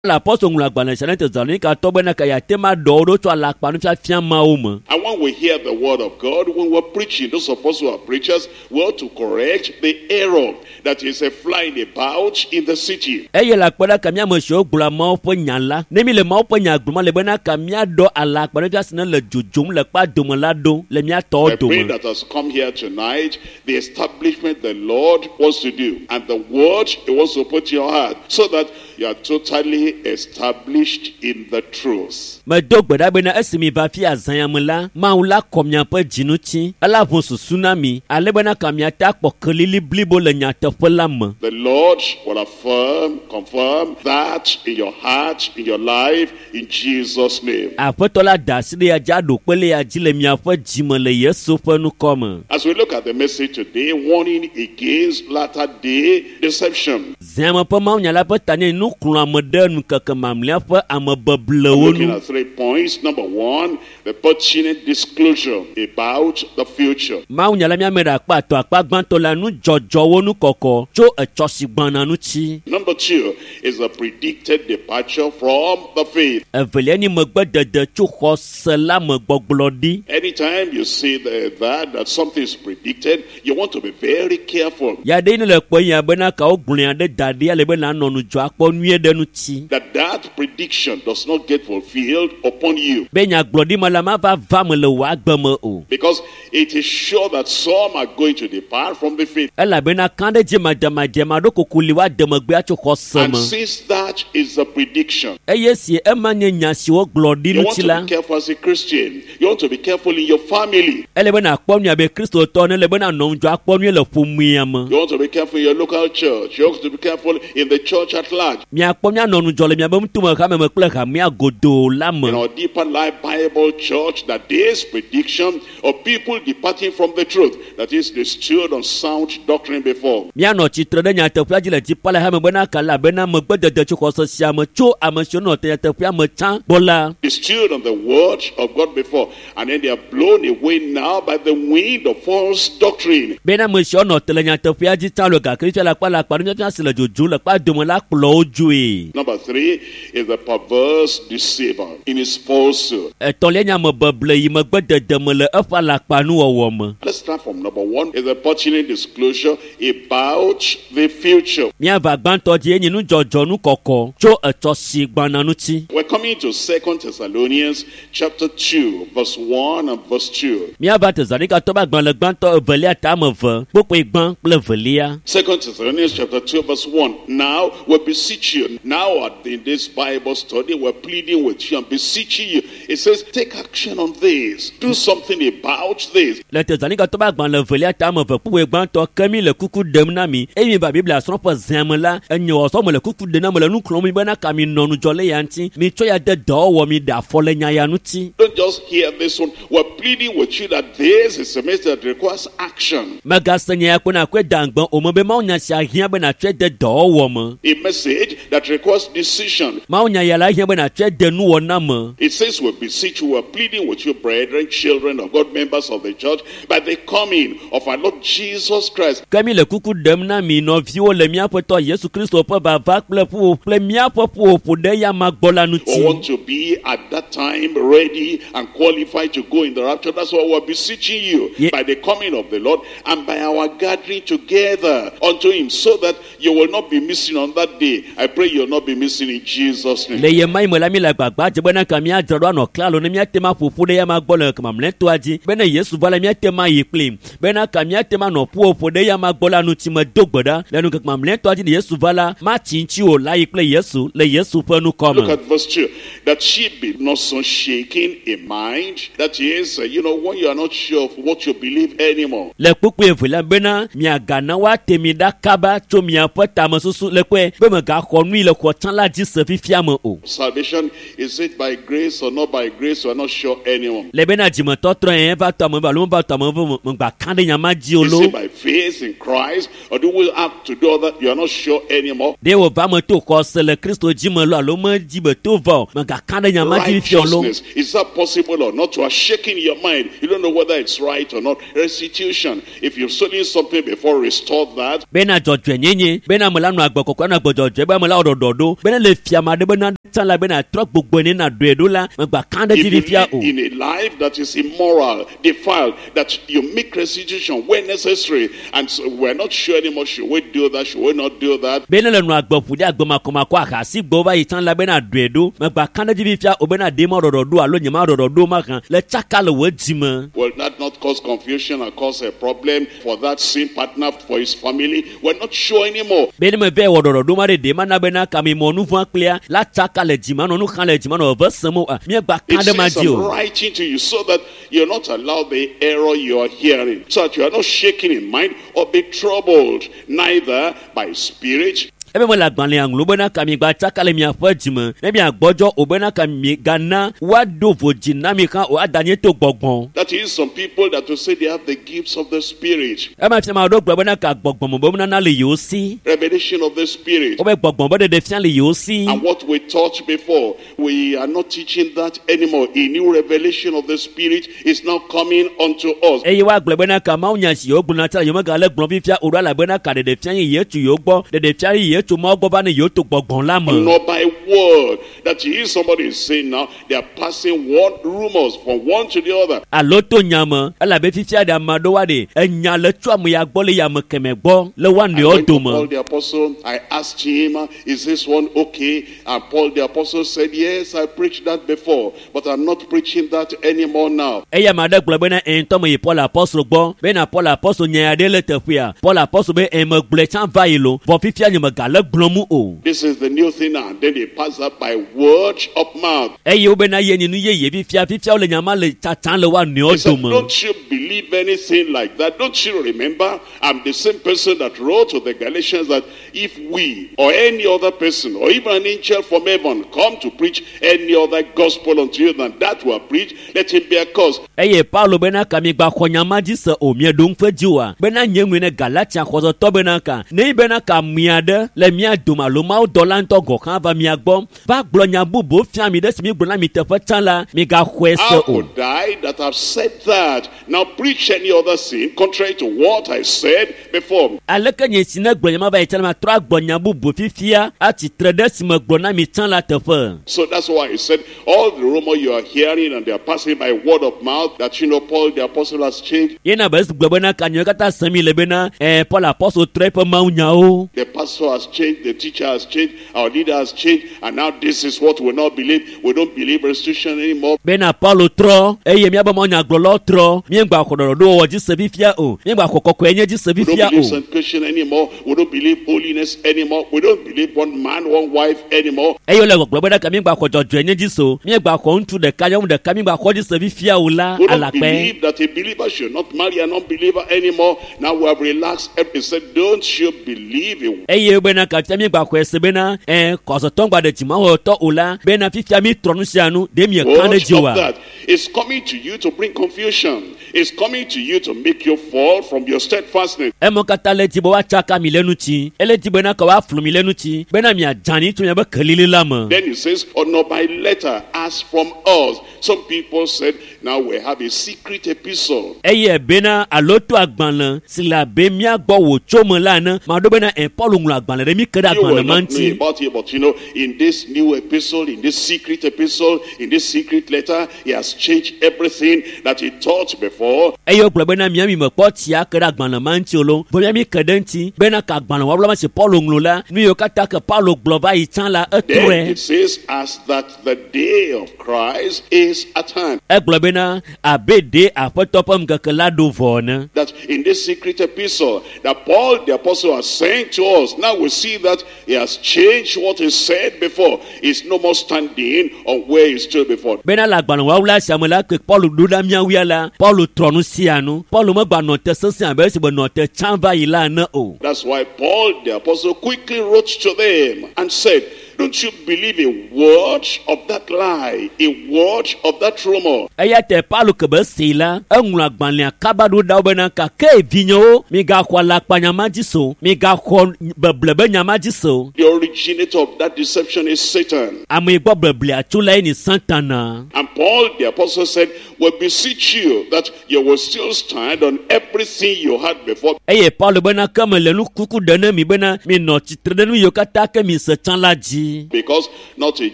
Le apɔstol ŋlɔ agbalẽ sia ne Tesalonikatɔ bena ka yeate ma ɖɔ wo ɖo tso alakpanufiafia mawo me. And when we hear the word of God, when we're preaching, those of us who are preachers, we ought to correct the error that is flying about in the city. Eye le akpe ɖe ka mía ame siwo gblɔa Mawu ƒe nya la, ne mi le Mawu ƒe nya gblɔm ale bena ka míaɖɔ alakpanufiafia si ne le dzodzom le kpea dome la ɖo le mía tɔwo I pray dome. that has come here tonight, the establishment the Lord wants to do, and the word he wants to put in your heart, so that you are totally established in the truth. Medo gbe ɖa bena esi mi va fia azã ya me la, Mawu la kɔ miaƒe dzi ŋuti, ela ʋu susu na mi, ale bena ka miate akpɔ kelili blibo le nyateƒe la me. The Lord will affirm, confirm that in your heart, in your life, in Jesus' name. Aƒetɔ la da asi ɖe ya dzi aɖo kpe le ya dzi le miaƒe dzime le Yesu ƒe ŋkɔ me. As we look at the message today, warning against latter day deception. Zãme ƒe mawunya la ƒe ta nye nuxlɔ̃ame ɖe ŋkeke mamlɛa ƒe amebeblewo Looking nu. at 3 points. Number 1, the pertinent disclosure about the future. Mawunya la míame ɖe akpa atɔ̃ akpa gbãtɔ la nudzɔdzɔwo nukɔkɔ tso etsɔ si gbɔna ŋuti. Number 2 is the predicted departure from the faith. Evelia nye megbedede tso xɔse la me gbɔgblɔ ɖi. Anytime you see that something is predicted, you want to be very careful. Ya ɖe ne le kpɔ ya bena kawo gblɔe ɖe da ɖi ale be nanɔ nudzɔ akpɔ nyuie ɖe ŋuti. That prediction does not get fulfilled upon you. Be nyagblɔɖi me la mava va me le wò agbe me o. Because it is sure that some are going to depart from the faith. Elabena ka ɖe dzi madzemadze ma ɖo kuku li woade megbea tso xɔse And me. since that is a prediction, Eye si ema nye nya si wogblɔ ɖi you want ŋuti to la, be careful as a Christian. You want to be careful in your family. ele be nàkpɔ nyuie abe Kristotɔ ne ele be nànɔ ŋudzɔ akpɔ nyuie le ƒomea me. You want to be careful in your local church. You want to be careful in the church at large. Miakpɔ mianɔ ŋudzɔ le miabe ŋutume hame me kple hamea godoo la me. In our Deeper Life Bible Church, that this prediction of people departing from the truth, that is, they stood on sound doctrine before. Mianɔ tsitre ɖe nyateƒea dzi le dzipa le hame bena kala bena megbedede tso xɔse sia me tso ame siwo nɔ te nyateƒea me tsã gbɔ la. They stood on the word of God before, and then they are blown away now by the wind of false doctrine. Bena ame siwo nɔ te le nyateƒea dzi tsã le gake fifia le akpa le akpa nufiafia si le dzodzom le kpa dome la kplɔ wo dzoe. Number 3 is the perverse deceiver in his falsehood. Etɔ̃lia nye amebeble yi megbedede me le eƒe alakpanuwɔwɔ me. Let's start from number 1 is the pertinent disclosure about the future. Míava gbãtɔ dzi enye nudzɔdzɔ nukɔkɔ tso etsɔ si gbɔna ŋuti. We're coming to 2 Thessalonians chapter 2, verse 1 and verse 2. Míava Tesalonikatɔ ƒe agbalẽ gbãtɔ evelia ta ame eve, kpukpui gbã kple evelia. 2 Thessalonians chapter 2, verse 1. Now we beseech you. Now in this Bible study, we're pleading with you and beseeching you. It says, take action on this. Do something about this. Le Tesalonikatɔ ƒe agbalẽ evelia ta ame eve, kpukpui gbãtɔ, ke mi le kuku ɖem na mi. Eye mi va Biblia srɔ̃ƒe zã me la, enye wɔsɔ me le kuku ɖem na me le nu xlɔ̃m mi bena ka mi nɔ ŋudzɔ le ya ŋuti. Mi tsɔ ya de dɔwɔwɔ mi ɖe afɔ le nya ya ŋuti. Don't just hear this one. We're pleading with you that this is a message that requires action. Megase nya ya ko nakɔe da ŋgbe o me be Mawu nya sia hiã be nàtsɔe de dɔwɔwɔ me. A message that requires decision. Mawu nya ya la hiã be nàtsɔe de nuwɔna me. It says we beseech you, we're pleading with you, brethren, children of God, members of the church, by the coming of our Lord Jesus Christ. Ke mi le kuku ɖem na mi nɔviwo le míaƒe Yesu Kristo ƒe vava kple ƒuƒoƒo kple míaƒe ƒuƒoƒo ɖe ya ma gbɔ la We ŋuti. want to be at that time ready and qualified to go in the rapture. That's why we're beseeching you by the coming of the Lord and by our gathering together unto him, so that you will not be missing on that day. I pray you'll not be missing in Jesus' name. Le ye ma yi me la mi le agbagba dze bena ka míadzra ɖo anɔ klalo ne míate ma ƒoƒu ɖe ya ma gbɔ le mamlɛtɔa dzi bena Yesu va la míate ma yi kplim bena ka míate ma nɔ ƒuƒoƒo ɖe ya ma gbɔ la ŋuti me do gbe ɖa le ŋkeke mamlɛtɔa dzi ne Yesu va la matsi ŋuti o la yi kple Yesu le Yesu ƒe ŋkɔ Look me. at verse 2. That she be not so shaken in mind. That is, you know, when you are not sure of what you believe anymore. Le kpukpui evelia bena miagana woate mi ɖa kaba tso miaƒe tamesusu le kpɔe be megaxɔ nui le xɔ tsã la dzi se fifia me o. Salvation, is it by grace or not by grace? You are not sure anymore. Le bena dzimetɔtrɔ yɛn va tɔ ame ve alo meva tɔ ame ve megba ka ɖe nya ma dzi o Is lo. it by faith in Christ or do we have to do other? You are not sure anymore. Ɖe wòva me to xɔse le Kristo dzi me lo alo medzi be to va o megaka ɖe nya ma dzi fifia o lo. Righteousness, is that possible or not? You are shaking your mind. You don't know whether it's right or not. Restitution, if you've stolen something before, restore that. Bena dzɔdzɔenyenye bena ame la nɔ agbe kɔkɔe anɔ agbe dzɔdzɔe be ame la wɔ ɖɔɖɔ ɖo bena le fia ma ɖe bena tsã la bena trɔ gbogbo ne na ɖoe ɖo la megba kã ɖe If dzi you fifia live o. in a life that is immoral, defiled, that you make restitution where necessary, and so we're not sure anymore, should we do that, should we not do that? Be ne le nɔ agbe ƒo ɖe agbe makɔmakɔ ahasi gbɔ va yi tsã la bena ɖoe ɖo megba kã ɖe dzi fifia o bena ɖe ma ɖɔɖɔ ɖo alo nye ma ɖɔɖɔ ɖo ma hã le tsaka le wò dzime. Will that not cause confusion and cause a problem for that sin partner, for his family? We're not sure anymore. Be ne meve wɔ ɖɔɖɔ ɖo ma ɖe ɖe ma na bena kamemɔ nu vɔ̃ kplia la tsaka le dzime anɔ nu xam le dzime anɔ veve sem o míegba kã It ɖe ma says, dzi I'm o. writing to you so that you're not allowed the error you are hearing, so that you are not shaken in mind or be troubled, neither by spirit, Ebe mele agbalẽa ŋlɔ bena ka migba tsaka le miaƒe dzime ne miagbɔdzɔ o bena ka migana woaɖo vodzi na mi hã o ada nye to gbɔgbɔ. That is, some people that will say they have the gifts of the Spirit, Ema fia ame aɖewo gblɔ bena ka gbɔgbɔme be nunana le yewo si. revelation of the Spirit. Wobe gbɔgbɔ be ɖeɖe fia le yewo si. And what we taught before, we are not teaching that anymore. A new revelation of the Spirit is now coming unto us. Eye woagblɔ bena ka mawunya si yewo gblɔna tsã la yewo megale gblɔm fifia o ɖo elabena ka ɖeɖe fia ye yewo tso yewo gbɔ ɖeɖe fia ye yewo tso Mawu gbɔ va ne yewo to gbɔgbɔ la me. Not by word. That is, somebody is saying now, they are passing one rumors from one to the other. Alo to nya me elabe fifia ɖe ame aɖewo aɖe enya le tso ame ya gbɔ le ya ame kemɛ gbɔ le woa I nɔewo went to dome. Paul the apostle. I asked him, is this one okay? And Paul the apostle said, yes, I preached that before, but I'm not preaching that anymore now. Eya ame aɖe gblɔ bena ɛ ŋutɔ me yi Paul apɔstol gbɔ bena Paul apɔstol nya ya ɖe le teƒea. Paul apɔstol be ɛ megblɔe tsã va yi lo vɔ fifia nye megale gblɔm o. This is the new thing now. And then they pass that by word of mouth. Eye wobena ye nye nu yeye fifia fifia wole nya ma le tsatsam le woa He nɔewo said, dome. don't you believe anything like that? Don't you remember? I'm the same person that wrote to the Galatians that if we or any other person or even an angel from heaven come to preach any other gospel unto you than that we have preached, let him be accursed. Eye Paulo bena ka migba xɔ nya ma dzi se o mieɖo ŋuƒe dzi oa bena nye ŋue ne Galatia xɔsetɔ bena ka ne yi bena ka mia ɖe le mia dome alo Mawu dɔla ŋutɔ gɔ̃ hã va mia gbɔ va gblɔ nya bubu fia mi ɖe si mi gblɔ na mi teƒe tsã la migaxɔe se How o. could I that have said that now preach any other sin contrary to what I said before? Aleke nye si ne gblɔ nya ma va yi tsã la matrɔ agblɔ nya bubu fifia atsitre ɖe si me gblɔ na mi tsã la teƒe. So that's why I said all the rumor you are hearing and they are passing by word of mouth that you know Paul the apostle has changed, Yena be esi gblɔ bena ka nyawo katã sem mi le bena ɛ Paul apɔstol trɔ eƒe mawunyawo. the pastor has changed, the teacher has changed, our leader has changed, and now this is what we now believe. We don't believe restitution anymore. Bena Paulo trɔ eye míabe mawunyagblɔlawo trɔ míegba xɔ ɖɔɖɔɖowɔwɔ dzi se fifia o míegba xɔ kɔkɔe nye dzi se We don't fifia believe o. sanctification anymore. We don't believe holiness anymore. We don't believe one man, one wife anymore. Eye wole gbɔgblɔ bena ka míegba xɔ dzɔdzɔe nye dzi se o míegba xɔ ŋutsu ɖeka nyɔnu ɖeka míegba xɔ dzi se fifia o la We don't alakpɛ. believe that a believer should not marry an unbeliever anymore. Now we have relaxed. He said, don't you believe in Eye bena ka fifia míegba xɔe se bena ɛ kɔsɔtɔ ŋgba ɖe dzimawɔtɔ o la bena fifia mi trɔ nu sia nu ɖe mieka ɖe word dzi of oa. that? It's coming to you to bring confusion. It's coming to you to make you fall from your steadfastness. Emɔ katã le dzi be woatsaka mi le ŋuti ele dzi bena ka woaflu mi le ŋuti bena miadzani tso miabe kelili la me. Then he says, or not by letter, as from us. Some people said, now we have a secret epistle. Eye bena alo to agbalẽ si le abe mía gbɔ wòtso me la ene maɖo bena ɛ Paul ŋlɔ agbalẽ ɖe mi ke ɖe You will agbalẽ ma not know ŋuti. about it, but you know, in this new epistle, in this secret epistle, in this secret letter, he has changed everything that he taught before. Eye wogblɔ bena mía mi mekpɔ tsia ke ɖe agbalẽ ma ŋuti o lo vɔ mía mi ke ɖe ŋuti bena ka agbalẽ wɔwɔla ma si Paul ŋlɔ la nu yiwo katã ke Paulo gblɔ va yi tsã la Then etrɔe. it says, as that the day of Christ is at hand. Egblɔ bena abe ɖe aƒetɔ ƒe ŋkeke la ɖo vɔ ene. That in this secret epistle that Paul the apostle has sent to us, now we see that he has changed what he said before. He's no more standing on where he stood before. Bena le agbalẽ wɔwɔla sia me la ke Paul ɖo ɖa míawoe la Paul trɔ nu sia nu. Paul megba nɔ te sesẽ abe esi be nɔ te tsã va yi la ene o. That's why Paul the apostle quickly wrote to them and said, Don't you believe a word of that lie, a word of that rumor? Eya ta Paulo ke be see la eŋlɔ agbalẽa kaba ɖo ɖa wo bena gake vinyewo migaxɔ alakpanya ma dzi se o migaxɔ beble be nya ma dzi se o. The originator of that deception is Satan. Ame yi gbɔ beblea tso lae nye Satana. And Paul the apostle said, We beseech you that you will still stand on everything you had before. Eye Paulo bena ke mele nu kuku ɖe ne mi bena minɔ tsitre ɖe nu yiwo katã ke mi se tsã la dzi. Because not a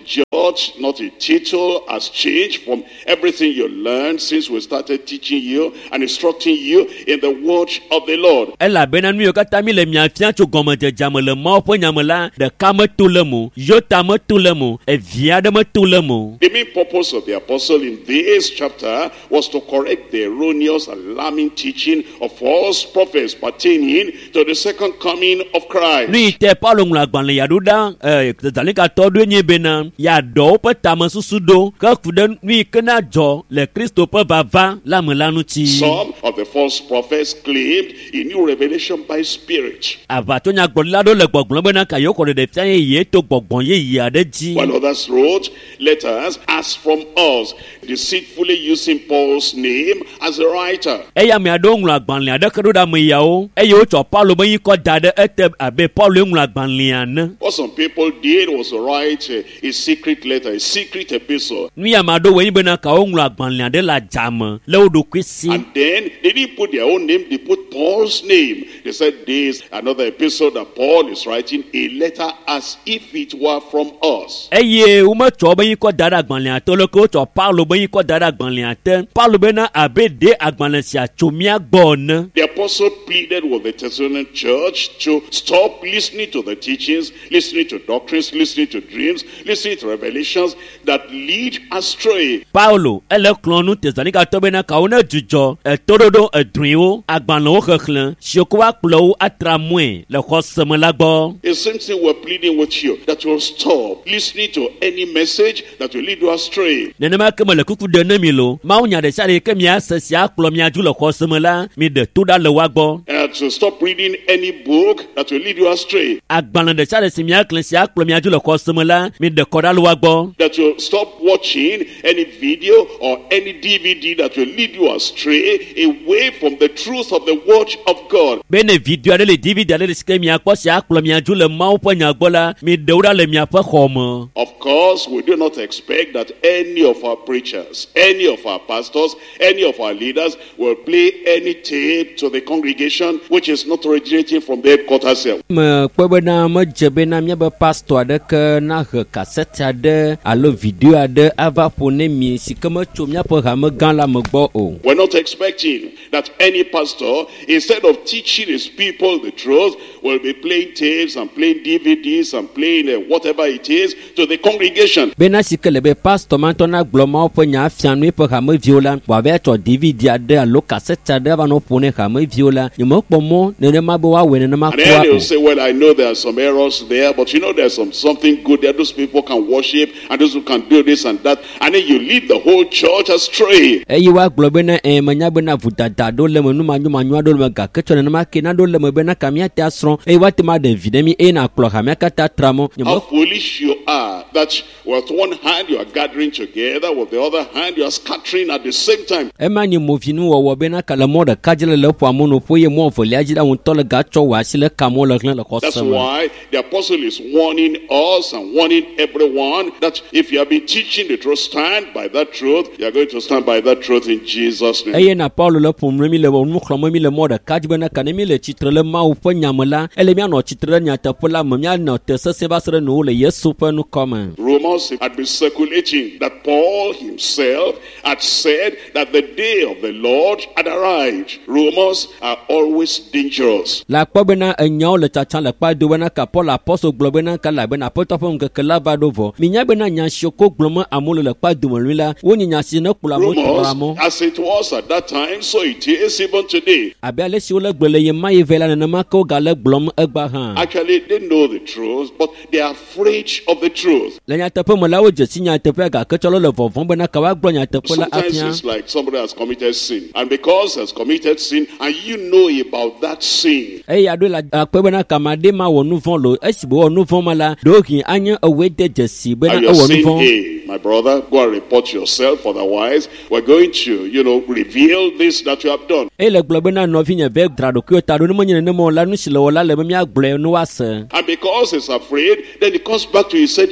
jot, not a tittle has changed from everything you learned since we started teaching you and instructing you in the word of the Lord. Elabena nu yiwo katã mi le mia fia tso gɔmedzedzea me le Mawu ƒe nya me la, ɖeka meto le eme o, yota meto le eme o, evi aɖe meto le eme o. The main purpose of the apostle in this chapter was to correct the erroneous, alarming teaching of false prophets pertaining to the second coming of Christ. Nu yi te Paulo ŋlɔ agbalẽ ya ɖo ɖa Tesalonikattɔwo ɖoe nye bena yeaɖɔ woƒe tamesusu ɖo ke ku ɖe nu yi ke na dzɔ le Kristo ƒe vava la me la ŋuti. Some of the false prophets claimed a new revelation by spirit. Aʋatsonyagblɔɖila aɖewo le gbɔgblɔm bena ka yewokɔ ɖeɖefia yeye to gbɔgbɔ yeye aɖe dzi. While others wrote letters as from us, deceitfully using Paul's name as a writer. Eye ame aɖewo ŋlɔ agbalẽ aɖeke ɖo ɖe ame yawo, eye wotsɔ Paulo ƒe ŋkɔ da ɖe ete abe Pauloe ŋlɔ agbalẽa ene. What some people did was to write a secret letter, a secret epistle. Nu ya ame aɖewo wɔe nye bena ka woŋlɔ agbalẽ aɖe le adzame le wo ɖokui si. And then they didn't put their own name, they put Paul's name. They said this, another epistle that Paul is writing, a letter as if it were from us. Eye wometsɔ woƒe ŋkɔ da ɖe agbalẽa te o, leke wotsɔ Paulo ƒe ŋkɔ da ɖe agbalẽa te. Paulo bena abe ɖe agbalẽ sia tso mía gbɔ ene. The apostle pleaded with the Thessalonian church to stop listening to the teachings, listening to doctrines, listening to dreams, listening to revelations that lead astray. Paulo ele xlɔ̃ nu Tesalonikatɔwo bena kawo nedzudzɔ etoɖoɖo edrɔ̃ewo, agbalẽwo xexlẽ, siwo ke woakplɔ wo atra mɔe le xɔse me la gbɔ. The same thing we're pleading with you, that you'll stop listening to any message that will lead you astray. Nenema ke mele kuku ɖem ne mi loo, mawunya ɖe sia ɖe yi ke miase si akplɔ mia dzo le xɔse me la, miɖe to ɖa le woa gbɔ. To stop reading any book that will lead you astray. Agbalẽ ɖe sia ɖe si miaxlẽ si akplɔ mia dzo le xɔse me la, miɖe kɔ ɖa le woa gbɔ. That you'll stop watching any video or any DVD that will lead you astray away from the truth of the word of God. Be ne video aɖe li, DVD aɖe li si ke miakpɔ si akplɔ mia dzo le Mawu ƒe nya gbɔ la, miɖe wo ɖa le miaƒe xɔ me. Of course, we do not expect that any of our preachers, any of our pastors, any of our leaders will play any tape to the congregation which is not originating from the headquarters here. Mekpɔe bena medze bena míabe pastɔ aɖeke nahe kasɛti aɖe alo video aɖe ava ƒo ne mi si ke metso míaƒe hame gã la me gbɔ o. We're not expecting that any pastor, instead of teaching his people the truth, will be playing tapes and playing DVDs and playing whatever it is to the congregation. Bena si ke le be pastɔ ma ŋutɔ nagblɔ Mawu ƒe nya afia nu eƒe hameviwo la, wòava tsɔ DVD aɖe alo kasɛti aɖe ava nɔ ƒom ne hameviwo la, nyemekpɔ mɔ nenema be woawɔe nenema And then kura they'll o. say, well, I know there are some errors there, but you know there's something good there. Those people can worship and those who can do this and that. And then you lead the whole church astray. Eye woagblɔ bena, Ɛ̃, menya bena vodada aɖewo le eme, nu manyomanyo aɖewo le eme, gake tsɔ nenema ke naɖewo le eme bena ka míate asrɔ̃ eye woate ŋu aɖe vi ɖe mí eye nàkplɔ hamea katã tra mɔ. How foolish you are that with one hand you are gathering together, with the other hand you are scattering at the same time. Ema nye movinuwɔwɔ bena ka le mɔ ɖeka dzi le le ƒoa mɔ nu ƒo eye mɔ evelia dzi la ŋutɔ le gatsɔ wò asi le ka mɔ le hlẽ le That's xɔse me. why the apostle is warning us and warning everyone that if you have been teaching the truth, stand by that truth. You are going to stand by that truth in Jesus' name. Eye na Paulo le ƒom ne mi le nu xlɔ̃m mi le mɔ ɖeka dzi bena ka ne mi le tsitre le Mawu ƒe nya me la, ele míanɔ tsitre ɖe nyateƒe la me, míanɔ te sesẽ va se ɖe nuwo le Yesu ƒe ŋkɔ me. Rumors had been circulating that Paul himself had said that the day of the Lord had arrived. Rumors are always dangerous. Le akpɔ bena enyawo le tsatsam le kpa do bena ka Paul apɔstol gblɔ bena ka elabena Aƒetɔ ƒe ŋkeke la va ɖo vɔ. Minya bena nya siwo ko gblɔm amewo le le kpa dome lui la, wonye nya si ne kplɔ amewo tra Rumors, mɔ. as it was at that time, so it is even today. Abe ale si wole gblɔe le ɣe ma ɣi vɛ la, nenema ke wogale gblɔm egbea hã. Actually, they know the truth, but they are afraid of the truth. Le nyateƒe me la, wodze si nyateƒea gake tsɔ le vɔvɔ̃m bena ka woagblɔ nyateƒe la Sometimes afia. it's like somebody has committed sin, and because has committed sin, and you know about that sin, Eye aɖoe le akpe bena kame aɖe ma wɔ nu vɔ̃ lo. Esi wòwɔ nu vɔ̃ ma la, ɖewohĩ anye ewɔe de dzesi bena and you're ewɔ nu saying, vɔ̃. hey, my brother, go and report yourself, otherwise we're going to, reveal this that you have done. Eye le gblɔ bena nɔvinye ve dzra ɖokuiwo ta ɖo ne menye nenema o la nu si le wɔ la le be míagblɔe ne woase. And because he's afraid, then he comes back to you. He said,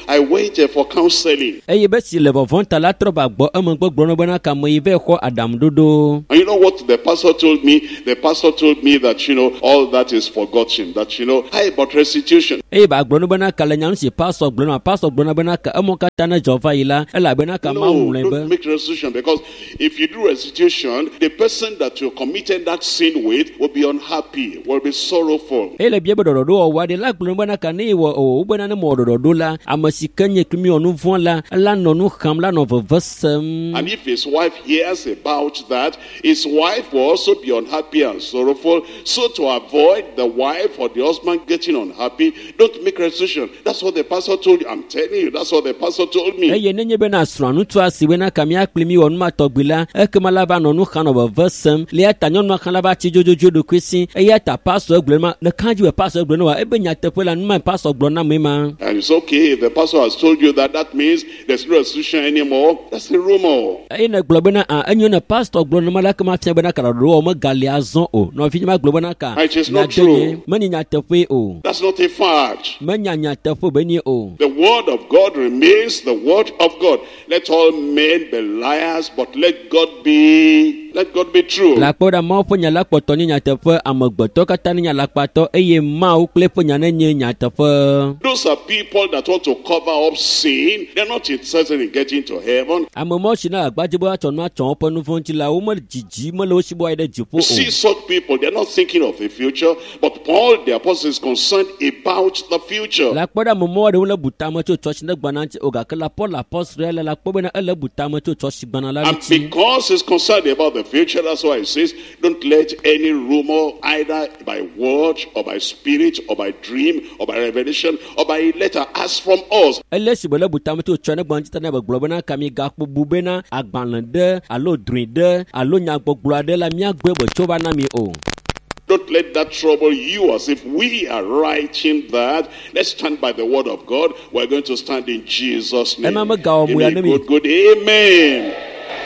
I went for counseling. Eye be si le vɔvɔ̃ ta la trɔ va gbɔ emegbe gblɔ na bena kame yi va xɔ aɖaŋuɖoɖo. And you know what the pastor told me? The pastor told me that, all that is forgotten. That, how about restitution? Eye ba gblɔ na bena ka le nya nu si pastor gblɔ na pastor gblɔ na bena ka emɔ katã ne dzɔ va yi la elabena ka Mawu No, ŋlɔe be. don't make restitution, because if you do restitution, the person that you committed that sin with will be unhappy, will be sorrowful. Eye le bia be ɖɔɖɔɖo wɔwɔ aɖe la gblɔ bena ka ne wɔ o bena ne mewɔ ɖɔɖɔɖo la ame si ke nye kple mi wɔ nu vɔ̃ la ela nɔ nu xam la nɔ veve sem. And if his wife hears about that, his wife will also be unhappy and sorrowful. So to avoid the wife or the husband getting unhappy, don't make restitution. That's what the pastor told you. I'm telling you, that's what the pastor told me. Eye nenye bena srɔ̃a ŋutsua si bena ka mía kpli mi wɔ nu ma tɔgbi la ekema la va nɔ nu xam nɔ veve sem le eya ta nyɔnua xã la va tsi dzodzodzoe ɖokui si eya ta pastor gblɔ ma le kã dzi be pastor gblɔ ne wa ebe nyateƒe la nu ma pastor gblɔ na me ma. And it's okay if the pastor has told you that, that means there's no restitution anymore. That's a rumor. Eye ne gblɔ bena a enyo ne pastor gblɔ ne ma la kema fia bena ka ɖɔɖɔ megali azɔ o nɔvi ma gblɔ bena ka It is not nyadenye true. menye nyateƒe o That's not a fact. menya nyateƒe be nie o. The word of God remains the word of God. Let all men be liars, but let God be true. Le akpɔ ɖa Mawu ƒe nya la kpɔtɔ nye nyateƒe amegbetɔ katã nye alakpatɔ eye Mawu kple eƒe nya nenye nyateƒe. Those are people that want to cover up sin. They're not interested in getting to heaven. Ame mawo si na agbadze be woatsɔ nu atsɔ woƒe nu vɔ̃ ŋuti la wo medzidzi mele wo si be woayi ɖe dziƒo You o. see such people, they're not thinking of the future, but Paul the apostle is concerned about the future. Le akpɔ ɖe ame mawo ɖewo le bu tame tso tsɔtsi ne gbana ŋuti o gake la Paul apostol ya le la kpɔ bena ele bu tame tso tsɔtsi gbana la And ŋuti. because he's concerned about the future, that's why he says, don't let any rumor, either by word or by spirit or by dream or by revelation or by letter, ask from us. Ele si be le bu tame tso tsɔ ne gbana ŋuti ta ne be gblɔ bena ka mi gakpo bu bena agbalẽ ɖe alo drɔ̃e ɖe alo nyagbɔgblɔ aɖe la míagblɔe be tso va na mi o. Don't let that trouble you as if we are writing that. Let's stand by the word of God. We're going to stand in Jesus' name. Ema megawɔ Give mo me ya a ne mi. good, good amen.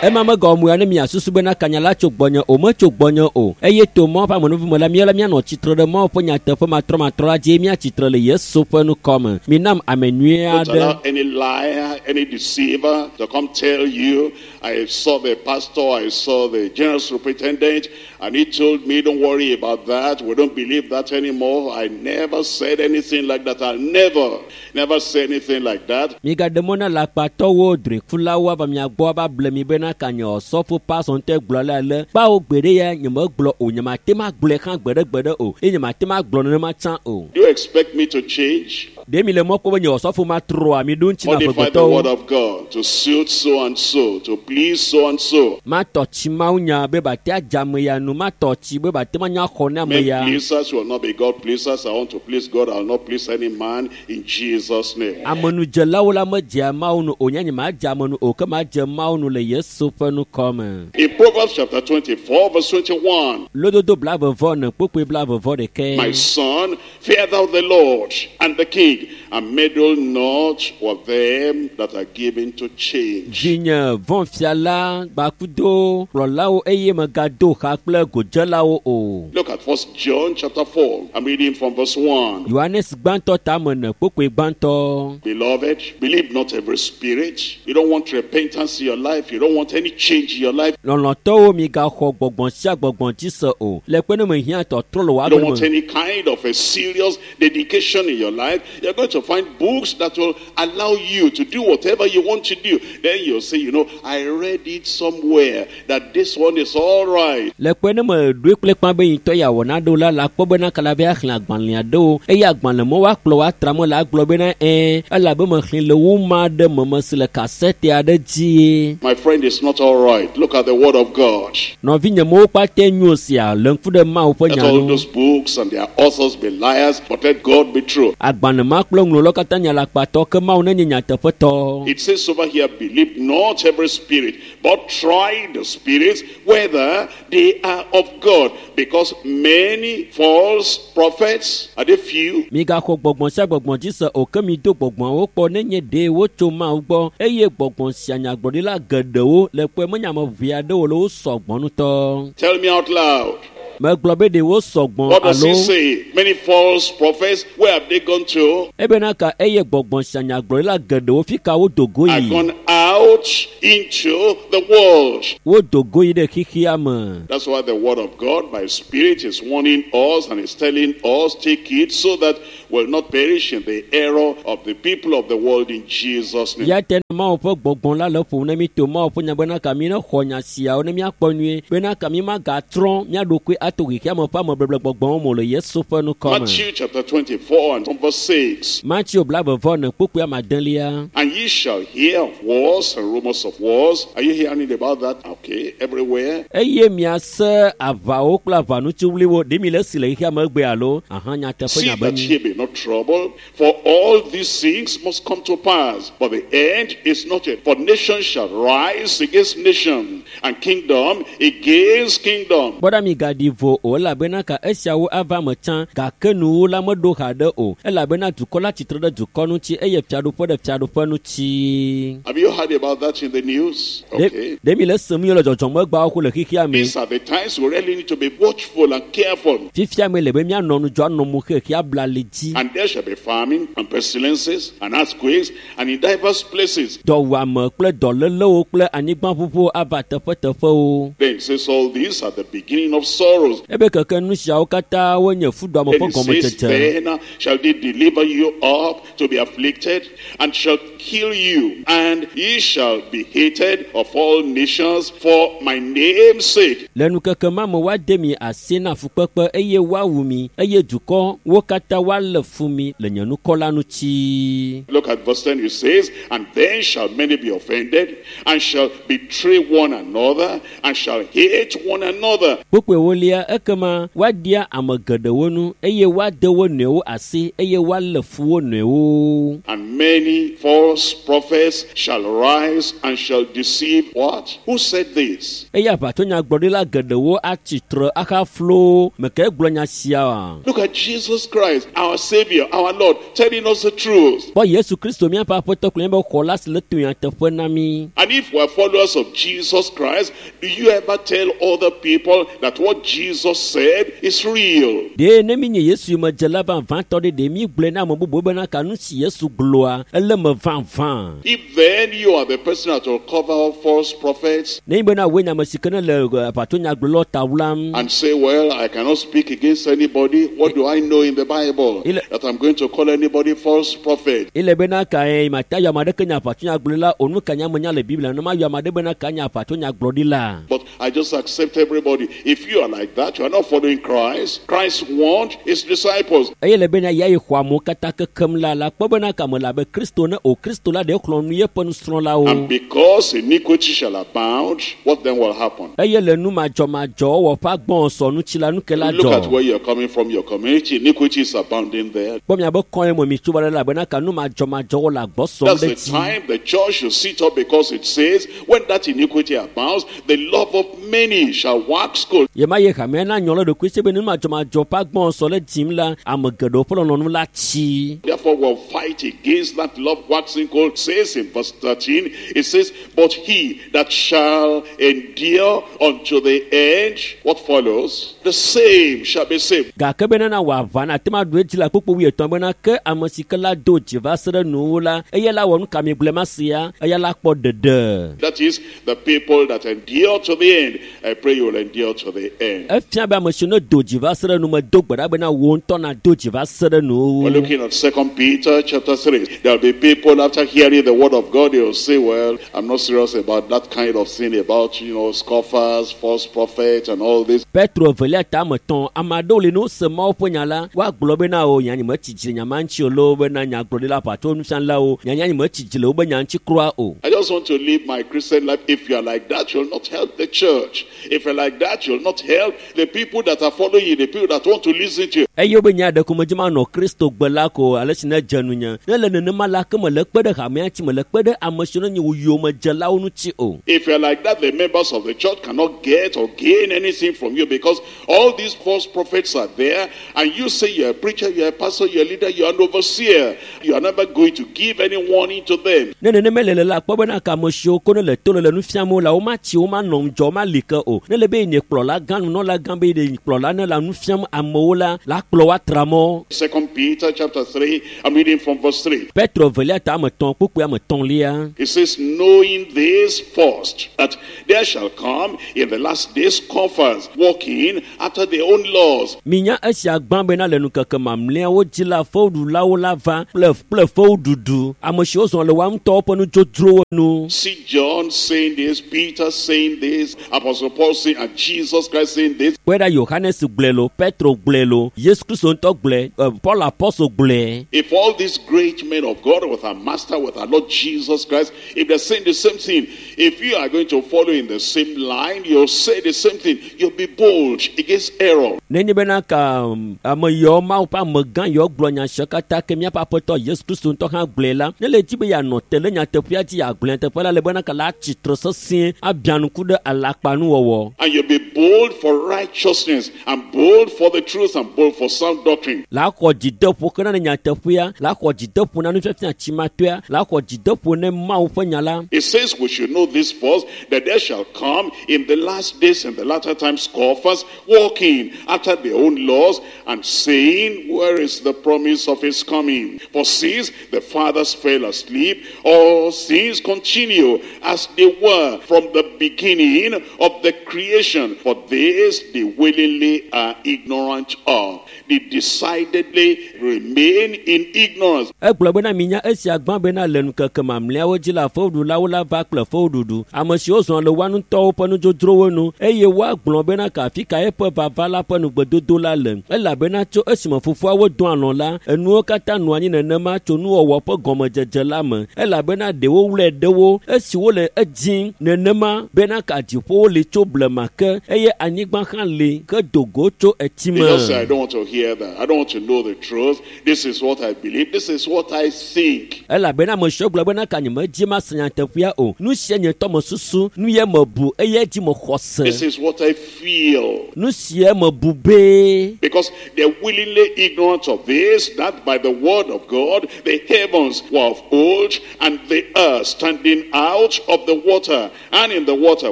Ema megawɔ mo ya ne miasusu bena kanya la tso gbɔnye o metso gbɔnye o eye to Mawu ƒe amenuvi me la míala míanɔ tsitre ɖe Mawu ƒe nyateƒe matrɔmatrɔ la dzi míatsitre le Yesu ƒe nukɔme. Minam ame nyui Don't aɖe. allow any liar, any deceiver to come tell you, I saw the pastor, I saw the general superintendent, and he told me, don't worry about that. We don't believe that anymore. I never said anything like that. I'll never, never say anything like that. Migaɖe mɔ na lakpatɔwo, drɔ̃ekulawo ava mia gbɔ ava ble mi bena kanya ɔsɔfo pastor ŋutɔe gblɔ le ale. Kpawo gbeɖe ya nyemegblɔ o, nyemate ma gblɔe hã gbeɖegbeɖe o eye nyemate ma gblɔ nenema tsã o. Do you expect me to change? Ɖe mi le mɔ kpɔm be nye ɔsɔfo matrɔa mi ɖo ŋuti na Modify the word amegbetɔwo. of God to suit so and so, to please so and so. Matɔ tsi Mawu nya be bate adze ame ya nu, matɔ tsi be bate manya xɔ ne ame Men ya. pleasers will not be God pleasers. I want to please God. I will not please any man in Jesus' name. Amenudzelawo la medzea Mawu nu o, nye nyemadze ame nu o, ke madze Mawu nu le Yesu ƒe nukɔme. In Proverbs chapter 24, verse 21, Lododo 24 kpukpui 21. My son, fear thou the Lord and the king, and meddle not with them that are given to change. Vinye vɔ̃ fia la gbakudo kplɔlawo eye megado xa kple godzelawo o. Look at 1 John chapter 4. I'm reading from verse 1. Yohanes gbãtɔ tame ene kpukpui gbãtɔ. Beloved, believe not every spirit. You don't want repentance in your life. You don't want any change in your life. Lɔlɔ̃tɔwo migaxɔ gbɔgbɔ̃ sia gbɔgbɔ̃ dzi se o. Le kpe ne mehiã tɔtrɔ le wò You don't agbe want me. any kind of a serious dedication in your life. You're going to find books that will allow you to do whatever you want to do. Then you'll say, I read it somewhere that this one is all right. Le kpe ne meɖoe kple kpã be yintɔ ya wɔ naɖewo la, la kpɔ bena kala be axlẽ agbalẽ aɖewo eye agbalẽ me woakplɔ woatra me la agblɔ bena ɛɛ elabe mexlẽ le woma aɖe me mesi le kasɛte aɖe dzie. My friend, it's is not all right? Look at the Word of God. Nɔvinye mewo kpata nyo sia le ŋku ɖe Mawu ƒe Let nya all nu. those books and their authors be liars, but let God be true. Agbalẽ ma kple ŋlɔlawo katã nye alakpatɔ ke Mawu nenye nyateƒetɔ. It says over here, believe not every spirit, but try the spirits whether they are of God. Because many false prophets, are they few? Migaxɔ gbɔgbɔ sia gbɔgbɔ dzi se o ke mido gbɔgbɔawo kpɔ nenye ɖe wotso Mawu gbɔ eye gbɔgbɔ sia nyagblɔɖila geɖewo le kpɔe menye ame ʋɛ aɖewo le wo sɔgbɔ ŋutɔ. Tell me out loud. Megblɔ be ɖe wo sɔgbɔ What does alo he say? Many false prophets, where have they gone to? ebena ka eye gbɔgbɔ sia nyagblɔɖila geɖewo fi ka wodo go Are yi. gone out into the world. Wodo go yi ɖe xexea me. That's why the word of God by Spirit is warning us and is telling us, take it so that we'll not perish in the error of the people of the world in Jesus' name. Ya te Mawu ƒe gbɔgbɔ la le ƒom ne mi to Mawu ƒe nya bena ka mi ne xɔ nya siawo ne miakpɔ nyuie bena ka mi magatrɔ mía ɖokui ato xexea me ƒe amebeble gbɔgbɔwo me o le Yesu ƒe ŋkɔ me. Matthew chapter 24 and verse 6. Mateo blaeve-vɔ-ene kpukpui amadelia. And ye shall hear of wars and rumors of wars. Are you hearing about that? Okay, everywhere. Eye miase aʋawo kple aʋanutsiwliwo ɖe mi le esi le xexea me egbe alo aha nyateƒe See nya be that nyi. ye be not troubled, for all these things must come to pass. But the end is not yet. For nation shall rise against nation, and kingdom against kingdom. Kpɔ ɖa migaɖi vo o elabena ka esiawo ava me tsã gake nuwo la meɖo haɖe o elabena dukɔ la tsitre ɖe dukɔ ŋuti eye fiaɖuƒe ɖe fiaɖuƒe ŋuti. Have you heard about that in the news? Ɖe Okay. ɖe mi le esem yɔ le dzɔdzɔmegbawo ko le xexea me. These are the times we really need to be watchful and careful. Fifia me le be míanɔ ŋudzɔ anɔ mo xexea bla li dzi. And there shall be famine and pestilences and earthquakes and in diverse places. Dɔwuame kple dɔlélewo kple anyigbaʋuʋuwo ava teƒeteƒewo. Then it says all these are the beginning of sorrows. Ebe keke nu siawo katã wonye fuɖuame Then ƒe it says, gɔmedzedze. then shall they deliver you up to be afflicted, and shall kill you, and ye shall be hated of all nations for my name's sake. Le nukeke ma me woade mi asi na fukpekpe eye woawu mi eye dukɔ wo katã woalé fu mi le nye ŋkɔ la ŋuti. Look at verse 10, it says, And then shall many be offended, and shall betray one another, and shall hate one another. Kpukpui ewolia ekema woaɖia ame geɖewo nu eye woade wo nɔewo asi eye woalé fu wo nɔewo. And many false prophets shall rise and shall deceive what? Who said this? Eye aʋatsonyagblɔɖila geɖewo atsi tre ahaflo meke gblɔ nya sia oa? Look at Jesus Christ, our Savior, our Lord, telling us the truth. Kpɔ Yesu Kristo míaƒe aƒetɔ kple míaƒe xɔla si le to nyateƒe na mí. And if we're followers of Jesus Christ, do you ever tell other people that what Jesus said is real? Ɖe ne mi nye Yesu yomedzela vavãtɔ ɖe ɖe mi gblɔe na ame bubuwo bena ka nu si Yesu gblɔa ele me vavã. If then you are the person that will cover up false prophets Ne nyi bena woe nye ame si ke ne le aʋatsonyagblɔlawo ta wlam and say, well, I cannot speak against anybody, what do I know in the Bible that I'm going to call anybody false prophet? ele bena kae mata yɔ ame aɖeke nye aʋatsonyagblɔɖila o nu ka nye amenya le Biblia ne mayɔ ame aɖe bena ka nye aʋatsonyagblɔɖila. But I just accept everybody. If you are like that, you are not following Christ. Christ warned his disciples. Eye le bena ya yi xɔ amewo katã kekem la la kpɔ bena kame le abe Kristo ne o Kristo la ɖe xlɔ̃ nu yeƒe nusrɔ̃lawo. And because iniquity shall abound, what then will happen? Eye le nu madzɔmadzɔwɔwɔ ƒe agbɔsɔ ŋuti la nu ke la Look at dzɔ. where you're coming from, your community. Iniquity is abounding there. Kpɔ miabe kɔe me mi tso va ɖe elabena ka nu madzɔmadzɔwɔ le agbɔ sɔm That's ɖe the dzi. time the church should sit up because it says, when that iniquity abounds, the love of many shall wax cold. Ye ma ye hamea na nyɔ le ɖokui si be nu madzɔmadzɔ ƒe agbɔsɔ le dzim la ame geɖewo ƒe lɔlɔ̃nu la tsi. Therefore, we'll fight against that love waxing cold. Says in verse 13, it says, But he that shall endure unto the end, what follows? The same shall be saved. Gake bena na wò aʋa na ate ŋu aɖu edzi le kpukpu wuietɔ̃ bena ke ame si ke la do dzi va se ɖe nuwuwu la eya la wɔ nu ka mi gblɔe ma sia eya la kpɔ ɖeɖe. That is, the people that endure to the end. I pray you will endure to the end. Efia be ame si ne do dzi va se ɖe nu me do gbe ɖa bena wò ŋutɔ na do dzi va se ɖe We're nuwuwu. looking at 2 Peter chapter 3. There'll be people after hearing the word of God, they'll say, well, I'm not serious about that kind of thing, about, scoffers, false prophets, and all this. Petro evelia ta ame etɔ̃ ame aɖewo li ne wose Mawu ƒe nya la woagblɔ bena o nya nye metsi dzi le nya ma ŋuti o loo bena nyagblɔɖila aʋatso nufialawo nya nya nye metsi dzi le wobe nya ŋuti kura o. I just just want to live my Christian life. If you are like that, you'll not help the church. If you're like that, you'll not help the people that are following you, the people that want to listen to you. Eye wobe nya ɖe ko medzi manɔ Kristo gbe la ko ale si ne dze nunye. Ne le nenema la ke mele kpe ɖe hamea ŋuti, mele kpe ɖe ame siwo nye wo yomedzelawo ŋuti o. If you're like that, the members of the church cannot get or gain anything from you, because all these false prophets are there, and you say you're a preacher, you're a pastor, you're a leader, you're an overseer. You are never going to give any warning to them. Ne nenema le le la kpɔ bena ka ame siwo ko ne le to le le nu fiam wo la, womatsi, womanɔ ŋudzɔ, womali ke o. Ne le be nye kplɔla gã, nunɔla gã be ye kplɔla ne le nu fiam amewo la, la kplɔ wo atra mɔ. 2 Peter chapter 3, I'm reading from verse 3. Petro velia ta ame etɔ̃ kpukpui ame etɔ̃lia. It says, knowing this first, that there shall come in the last days scoffers, walking after their own laws. Minya esia gbã bena le ŋkeke mamlɛawo dzi la, fewuɖulawo la va kple kple fewuɖuɖu. Ame siwo zɔ le woa ŋutɔwo ƒe nudzodzrowo nu. See John saying this, Peter saying this, Apostle Paul saying, and Jesus Christ saying this. Kpɔe ɖa Yohanes gblɔe lo, Petro gblɔe lo, Yesu Kristo ŋutɔ gblɔe, Paul Apɔstol gblɔe. If all these great men of God with our Master, with our Lord Jesus Christ, if they're saying the same thing, if you are going to follow in the same line, you'll say the same thing. You'll be bold against error. Nenye bena ka ame yawo Mawu ƒe amegã yawo gblɔ nya sia katã ke míaƒe aƒetɔ Yesu Kristo ŋutɔ hã gblɔe la, ne le dzi be yeanɔ te ɖe nyateƒea dzi yeagblɔ nyateƒe la le bena ka la atsi tre sesĩe abia ŋku ɖe alakpanuwɔwɔ. And you'll be bold for righteousness, and bold for the truth, and bold for sound doctrine. La xɔ dzideƒo kena ne nyateƒea, la xɔ dzideƒo na nufiafia tsimatoea, la xɔ dzideƒo ne Mawu ƒe nya la. It says we should know this first, that there shall come in the last days, in the latter times, scoffers, walking after their own laws, and saying, where is the promise of his coming? For since the fathers fell asleep, all things continue as they were from the beginning of the creation. For this they willingly are ignorant of. They decidedly remain in ignorance. Egblɔ bena minya esia gbã bena le ŋkeke mamlɛawo dzi la, fewuɖulawo la va kple fewuɖuɖu. Ame siwo zɔ le woa ŋutɔwo ƒe nudzodzrowo nu, eye woagblɔ bena ka afi ka eƒe vava la ƒe nugbedodo la le. Elabena tso esime fofoawo do alɔ̃ la, enuwo katã nɔ anyi nenema tso nuwɔwɔ ƒe gɔmedzedze la me. Elabena ɖewo wlɔe ɖewo esi wole edzim nenema bena ka dziƒowo li tso blema ke eye anyigba hã li ke do go tso etime. They just say, I don't want to hear that. I don't want to know the truth. This is what I believe. This is what I think. Elabena ame siwo gblɔ bena ka nyemedzi mase nyateƒea o. Nu sia nye ŋutɔ mesusu, nu ye mebu eye dzi mexɔ se. This is what I feel. Nu sia mebu be. Because they're willingly ignorant of this, that by the word of God, the heavens were of old, and the earth standing out of the water, and in the water,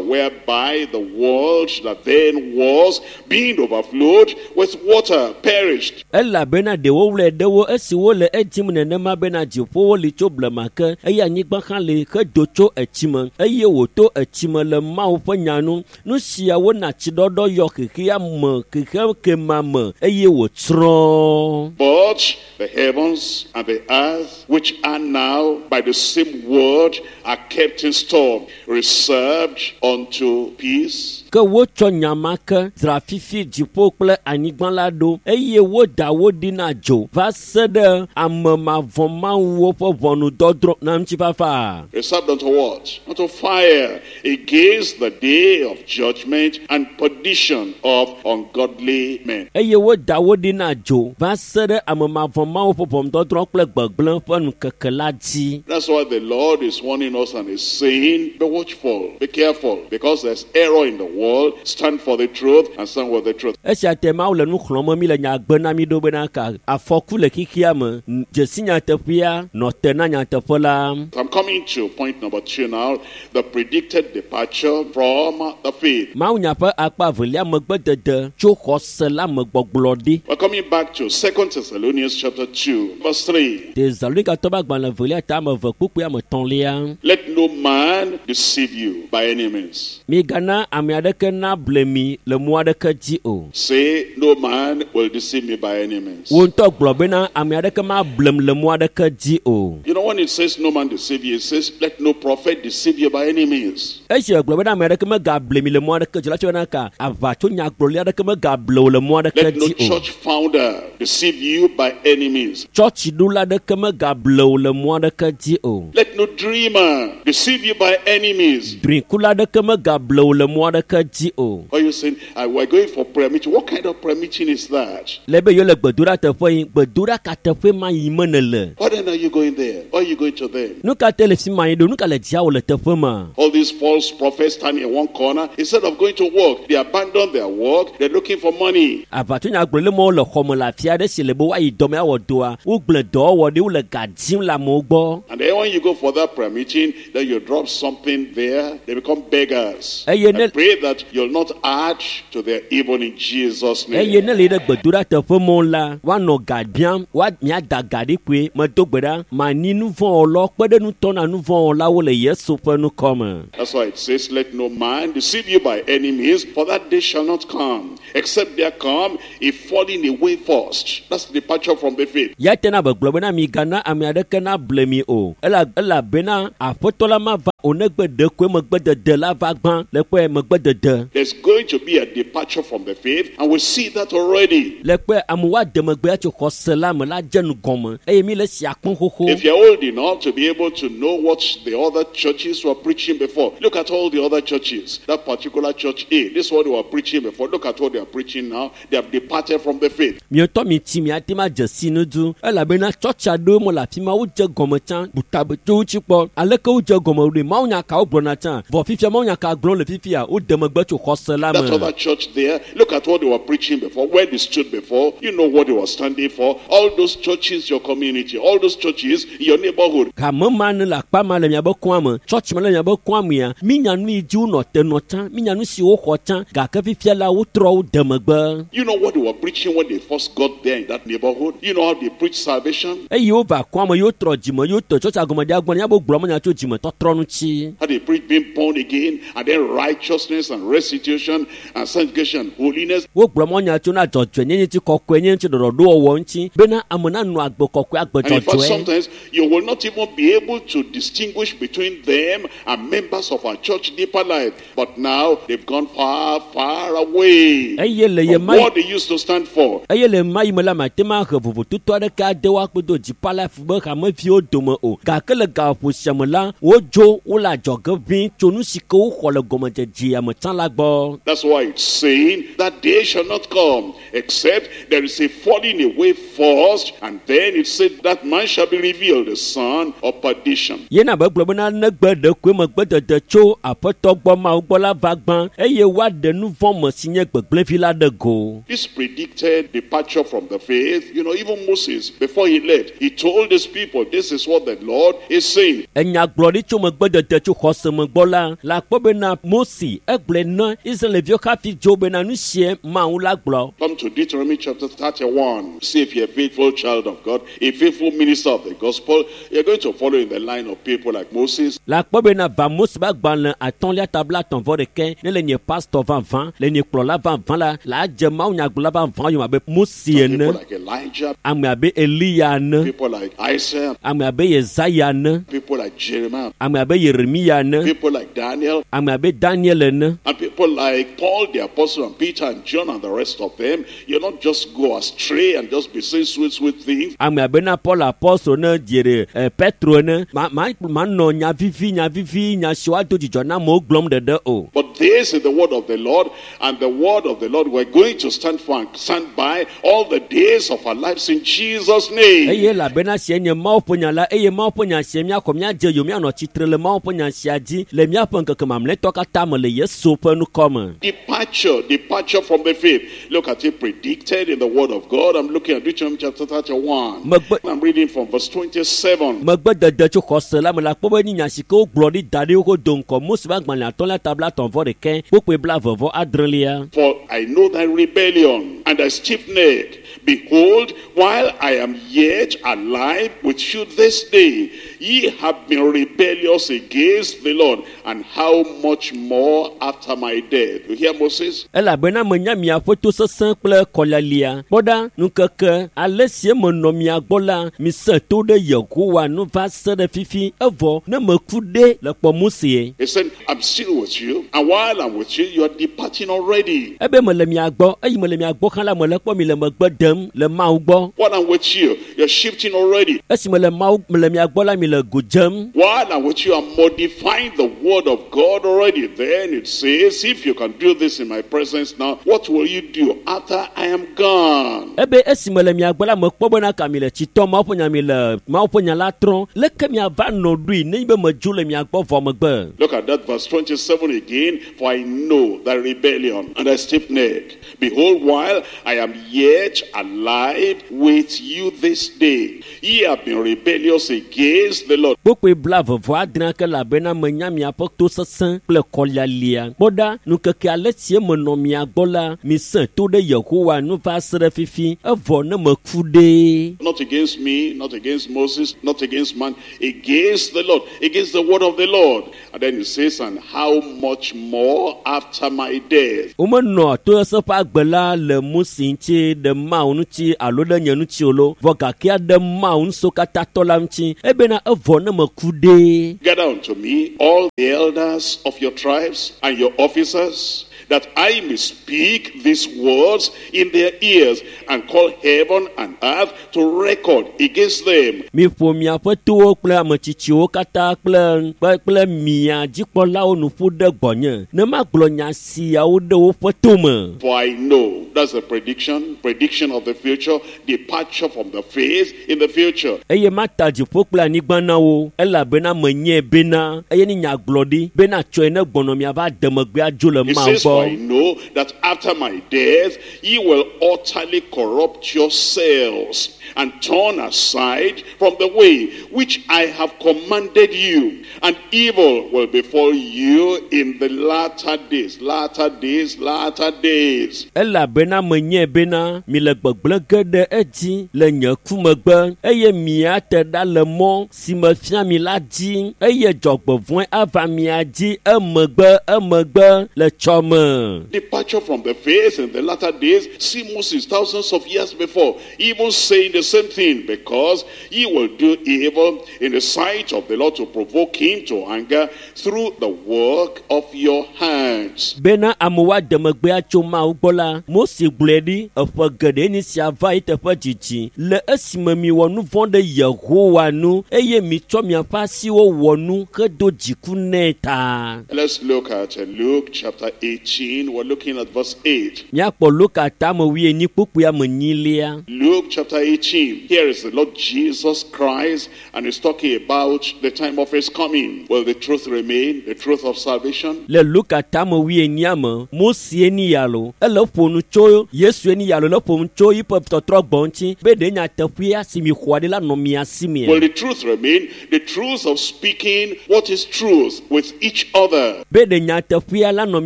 whereby the world that then was, being overflowed with water, perished. Elabena ɖewo wlɔe ɖewo esi wole edzim nenema bena dziƒowo li tso blema ke eye anyigba hã li hedo tso etsime eye wòto etsime le Mawu ƒe nya nu. Nu siawo na tsiɖɔɖɔ yɔ xexea me xexe kema me eye wòtsrɔ̃. But the heavens and the earth, which are now by the same word, are kept in store, reserved unto peace. Ke wotsɔ nya ma ke dzra fifi dziƒo kple anyigba la ɖo eye woda wo ɖi na dzo va se ɖe ame mavɔ̃mawuwo ƒe ʋɔnudɔdrɔ̃ na ŋutifafa. Reserved unto what? Unto fire, against the day of judgment and perdition of ungodly men. Eye woda wo ɖi na dzo va se ɖe ame mavɔ̃mawu ƒe ʋɔnudɔdrɔ̃ kple gbegblẽ ƒe ŋkeke la dzi. That's why the Lord is warning us and is saying, be watchful, be careful, because there's error in the world. Stand for the truth and stand with the truth. Esia te Mawu le nu xlɔ̃m mi le nya gbe na mi ɖo bena ka afɔku le xexea me, dzesi nyateƒea, nɔ te na nyateƒe la. I'm coming to point number 2 now, the predicted departure from the faith. Mawu nya ƒe akpa evelia megbedede tso xɔse la me gbɔgblɔ ɖi. We're coming back to 2 Thessalonians chapter 2, verse 3. Tesalonikatɔ ƒe agbalẽ evelia ta ame eve kpukpui ame etɔ̃lia. Let no man deceive you by any means. Migana ame aɖeke aɖeke nable mi le mɔ aɖeke dzi o. Say, no man will deceive me by any means. Wo ŋutɔ gblɔ bena ame aɖeke mablem le mɔ aɖeke dzi o. You know, when it says no man deceive you, it says let no prophet deceive you by any means. Esi gblɔ bena ame aɖeke megable mi le mɔ aɖeke dzi la, tsɔ bena ka aʋatso nyagblɔli aɖeke megable wò le mɔ aɖeke Let no dzi o. church founder deceive you by any means. Tsɔtsiɖola aɖeke megable wò le mɔ aɖeke dzi o. Let no dreamer deceive you by any means. Drikula aɖeke megable wò le mɔ aɖeke dzi o. Are you saying, we're going for prayer meeting? What kind of prayer meeting is that? Le be yewo le gbedoɖa teƒe yi, gbedoɖa ka teƒe ma yi me nèle? Why then are you going there? Why are you going to them? Nu ka te le fi ma yi ɖo? Nu ka le dziawò le teƒe ma? All these false prophets standing in one corner, instead of going to work, they abandon their work, they're looking for money. Aʋatsonyagblɔɖi mawo le xɔme le afi aɖe si le be woayi dɔme awɔ dɔa, wogblẽ dɔwɔwɔ ɖi, wole ga dim le amewo gbɔ. And then when you go for that prayer meeting, then you drop something there, they become beggars. Eye I ne pray that you'll not add to their evil in Jesus' eye name. ne le yi ɖe gbedoɖa teƒe mɔ la, woanɔ ga biam, woa miada ga ɖi kpoe. Medo gbe ɖa, mani nu vɔ̃ wɔlawo kpe ɖe nutɔ na nu vɔ̃ wɔlawo le Yesu ƒe ŋkɔ me. That's why it says, let no man deceive you by any means, for that day shall not come, except there come a falling away first. That's departure from the faith. Ya tena be gblɔ bena migana ame aɖeke nable mi o. Elabena aƒetɔ la mava o negbe ɖekoe megbedede la va gbã le kpɔe megbedede. There's going to be a departure from the faith, and we see that already. Le kpɔe amewo ade megbe atso xɔse la me la dze nu gɔme eye mi le sia kpɔm xoxo. If you're old enough to be able to know what the other churches were preaching before, look at all the other churches. That particular church A, this is what they were preaching before. Look at what they are preaching now. They have departed from the faith. Mietɔ mi tsi miate ma dze si nu du elabena tsɔtsi aɖewo me le afi ma wodze gɔme tsã butabe tso wo tsi kpɔ aleke wodze gɔme ɖoe mawunya ka wogblɔna tsã vɔ fifia mawunya ka gblɔm le fifia wode megbe tso xɔse la That me. other church there, look at what they were preaching before, where they stood before. You know what they were standing for. All those churches, your community, all those churches in your neighborhood. Hame ma ne le akpa ma le miabe kɔa me, tsɔtsi ma le miabe kɔa mea, minya nu yi dzi wonɔ te nɔ tsã, minya nu si woxɔ tsã, gake fifia la wotrɔ wo de megbe. You know what they were preaching when they first got there in that neighborhood. You know how they preached salvation, Eye wova kɔa me, yewotrɔ dzime, yewotɔ tsɔtsia gɔme ɖia gbɔ, miabe gblɔ menya tso dzimetɔtrɔ ŋuti. how they preached being born again, and then righteousness and restitution and sanctification, holiness. Wogblɔ mɔnya tso na dzɔdzɔenyenye ŋuti, kɔkɔenyenye ŋuti, ɖɔɖɔɖowɔwɔ ŋuti bena ame nanɔ agbe kɔkɔe, agbe And in fact, dzɔdzɔe. sometimes you will not even be able to distinguish between them and members of our church deeper life. But now they've gone far, far away Eye le ye from ma what they used to stand for. eye le ma yi me la mate ma he vovototo aɖeke ade woakpe do dzipa life be hameviwo dome o gake le gaƒo sia me la wodzo wole adzɔge ʋĩ tso nu si ke woxɔ le gɔmedzedzea me tsã la gbɔ. That's why it's saying that day shall not come, except there is a falling away first, and then it said that man shall be revealed, the son of perdition. Yena be gblɔ bena negbe ɖekoe megbedede tso aƒetɔ gbɔ Mawu gbɔ la va gbã eye woaɖe nu vɔ̃ me si nye gbegblẽvi la ɖe go. This predicted departure from the faith, you know, even Moses, before he left, he told his people, this is what the Lord is saying. Enyagblɔɖi tso megbedede tso xɔse me gbɔ la, la kpɔ bena Mose egblɔe na Israelviwo hafi dzo bena nu sie Mawu la gblɔ. Come to Deuteronomy chapter 31. See if you're a faithful child of God, a faithful minister of the gospel, you're going to follow in the line of people like Moses, La kpɔ bena va Mose ƒe agbalẽ atɔ̃lia ta 35 ne le nye pastor vavã, le nye kplɔla vavã la, la dze Mawu nyagblɔla vavã yome abe Mose people ene, like Elijah, ame abe Eliya ene, people like Isaiah, ame abe Yesaya ene, people like Jeremiah, ame abe Yeremia ene, people like Daniel, ame abe Daniel ene, and people like Paul the apostle and Peter and John and the rest of them. You not just go astray and just be saying sweet, sweet things. ame abe na Paul apostol ne diere Petro ene, ma ma manɔ nya vivi nya vivi nya si woado dzidzɔ na amewo gblɔm ɖeɖe o. But this is the word of the Lord, and the word of the Lord we're going to stand for and stand by all the days of our lives in Jesus' name. Eye elabena sie nye Mawu ƒe nya la eye Mawu ƒe nya sie míaxɔ míadze yome míanɔ tsitre le Mawu ƒe nya sia dzi le míaƒe ŋkeke mamlɛtɔ katã me le Yesu ƒe ŋkɔ me. Departure, departure from the faith. Look at it predicted in the word of God. I'm looking at Deuteronomy chapter 31. I'm reading from verse 27. Megbedede tso xɔse la me la kpɔ be nye nya si ke wogblɔ ɖi da ɖi wodo do ŋkɔ Mose ƒe agbalẽ atɔ̃lia ta 36 kpukpui 29. For I know thy rebellion and thy stiff neck. Behold, while I am yet alive with you this day, Ye have been rebellious against the Lord, and how much more after my death? You hear Moses? Elabena menya miaƒe tosesẽ kple kɔlialia. Kpɔ ɖa, ŋkeke ale si menɔ mia gbɔ la, mise to ɖe Yehowa nu va se ɖe fifi evɔ ne meku ɖe le kpɔ Mose. He said, I'm still with you, and while I'm with you, you are departing already. Ebe mele mia gbɔ, eyi mele mia gbɔ hã la, mele kpɔ mi le megbe dem le Mawu gbɔ. While I'm with you, you're shifting already. Esi mele Mawu mele mia gbɔ la, mi le go dzem. While I'm with you, I'm modifying the word of God already. Then it says, if you can do this in my presence now, what will you do after I am gone? Ebe esi mele mia gbɔ la, mekpɔ bena ka mi le tsitɔ Mawu ƒe nya mi le Mawu ƒe nya la trɔm. Leke miava nɔ ɖoe nenye be medzo le mia gbɔ vɔ megbe? Look at that verse 27 again. For I know thy rebellion and thy stiff neck. Behold, while I am yet alive with you this day, ye have been rebellious against the Lord. Kpokpoe 26 ke elabena menya miaƒe tosesẽ kple kɔlialia. Kpɔ ɖa, ŋkeke ale si menɔ mia gbɔ la, mise to ɖe Yehowa nu va se ɖe fifi evɔ ne meku ɖe. Not against me, not against Moses, not against man, against the Lord, against the word of the Lord. And then he says, and how much more after my death? Womenɔ tosesẽ ƒe agbe la le Mose ŋuti ɖe Mawu ŋuti alo ɖe nye ŋuti o lo, vɔ gakea ɖe Mawu ŋusẽkatãtɔ la ŋuti ebena evɔ ne meku ɖe. Gather unto me all the elders of your tribes and your officers, that I may speak these words in their ears and call heaven and earth to record against them. Miƒo miaƒe towo kple ametsitsiwo katã kple kple mia dzikpɔlawo nu ƒu ɖe gbɔnye ne magblɔ nya siawo ɖe woƒe tome. For I know, that's a prediction, prediction of the future, departure from the faith in the future. Eye mata dziƒo kple anyigba na wo elabena menyae bena eye ne nyagblɔɖi bena tsɔe ne gbɔnɔ miava de megbe adzo le He Mawu says, for I gbɔ. know that after my death, ye will utterly corrupt yourselves and turn aside from the way which I have commanded you, and evil will befall you in the latter days, latter days, latter days. Elabena menyae bena mi le gbegblẽ ge ɖe edzi le nye ku megbe eye miate ɖa le mɔ si mefia mi la dzi eye dzɔgbevɔ̃e ava mia dzi emegbe emegbe le tsɔme. Departure from the faith in the latter days. See Moses thousands of years before, even saying the same thing, because he will do evil in the sight of the Lord to provoke him to anger through the work of your hands. Bena amewo ade megbe atso Mawu gbɔ la, Mose gblɔe ɖi eƒe geɖe ni sia va yi teƒe dzidzi le esime miwɔ nu vɔ̃ ɖe Yehowa nu eye mitsɔ miaƒe asiwo wɔ nu hedo dziku nɛ ta. Let's look at Luke chapter 18. We're looking at verse 8. Míakpɔ Luka tame wuienyi kpukpui ame enyilia. Luke chapter 18. Here is the Lord Jesus Christ, and he's talking about the time of his coming. Will the truth remain? The truth of salvation? Le Luka tame wuienyia me, Mose ni ya lo, ele ƒo nu tso Yesu ni ya lo, le ƒo nu tso yiƒe tɔtrɔ gbɔ ŋuti be ɖe nyateƒea si mi xɔa ɖi la nɔ mia si mea. Will the truth remain? The truth of speaking what is truth with each other. Be ɖe nyateƒea la nɔ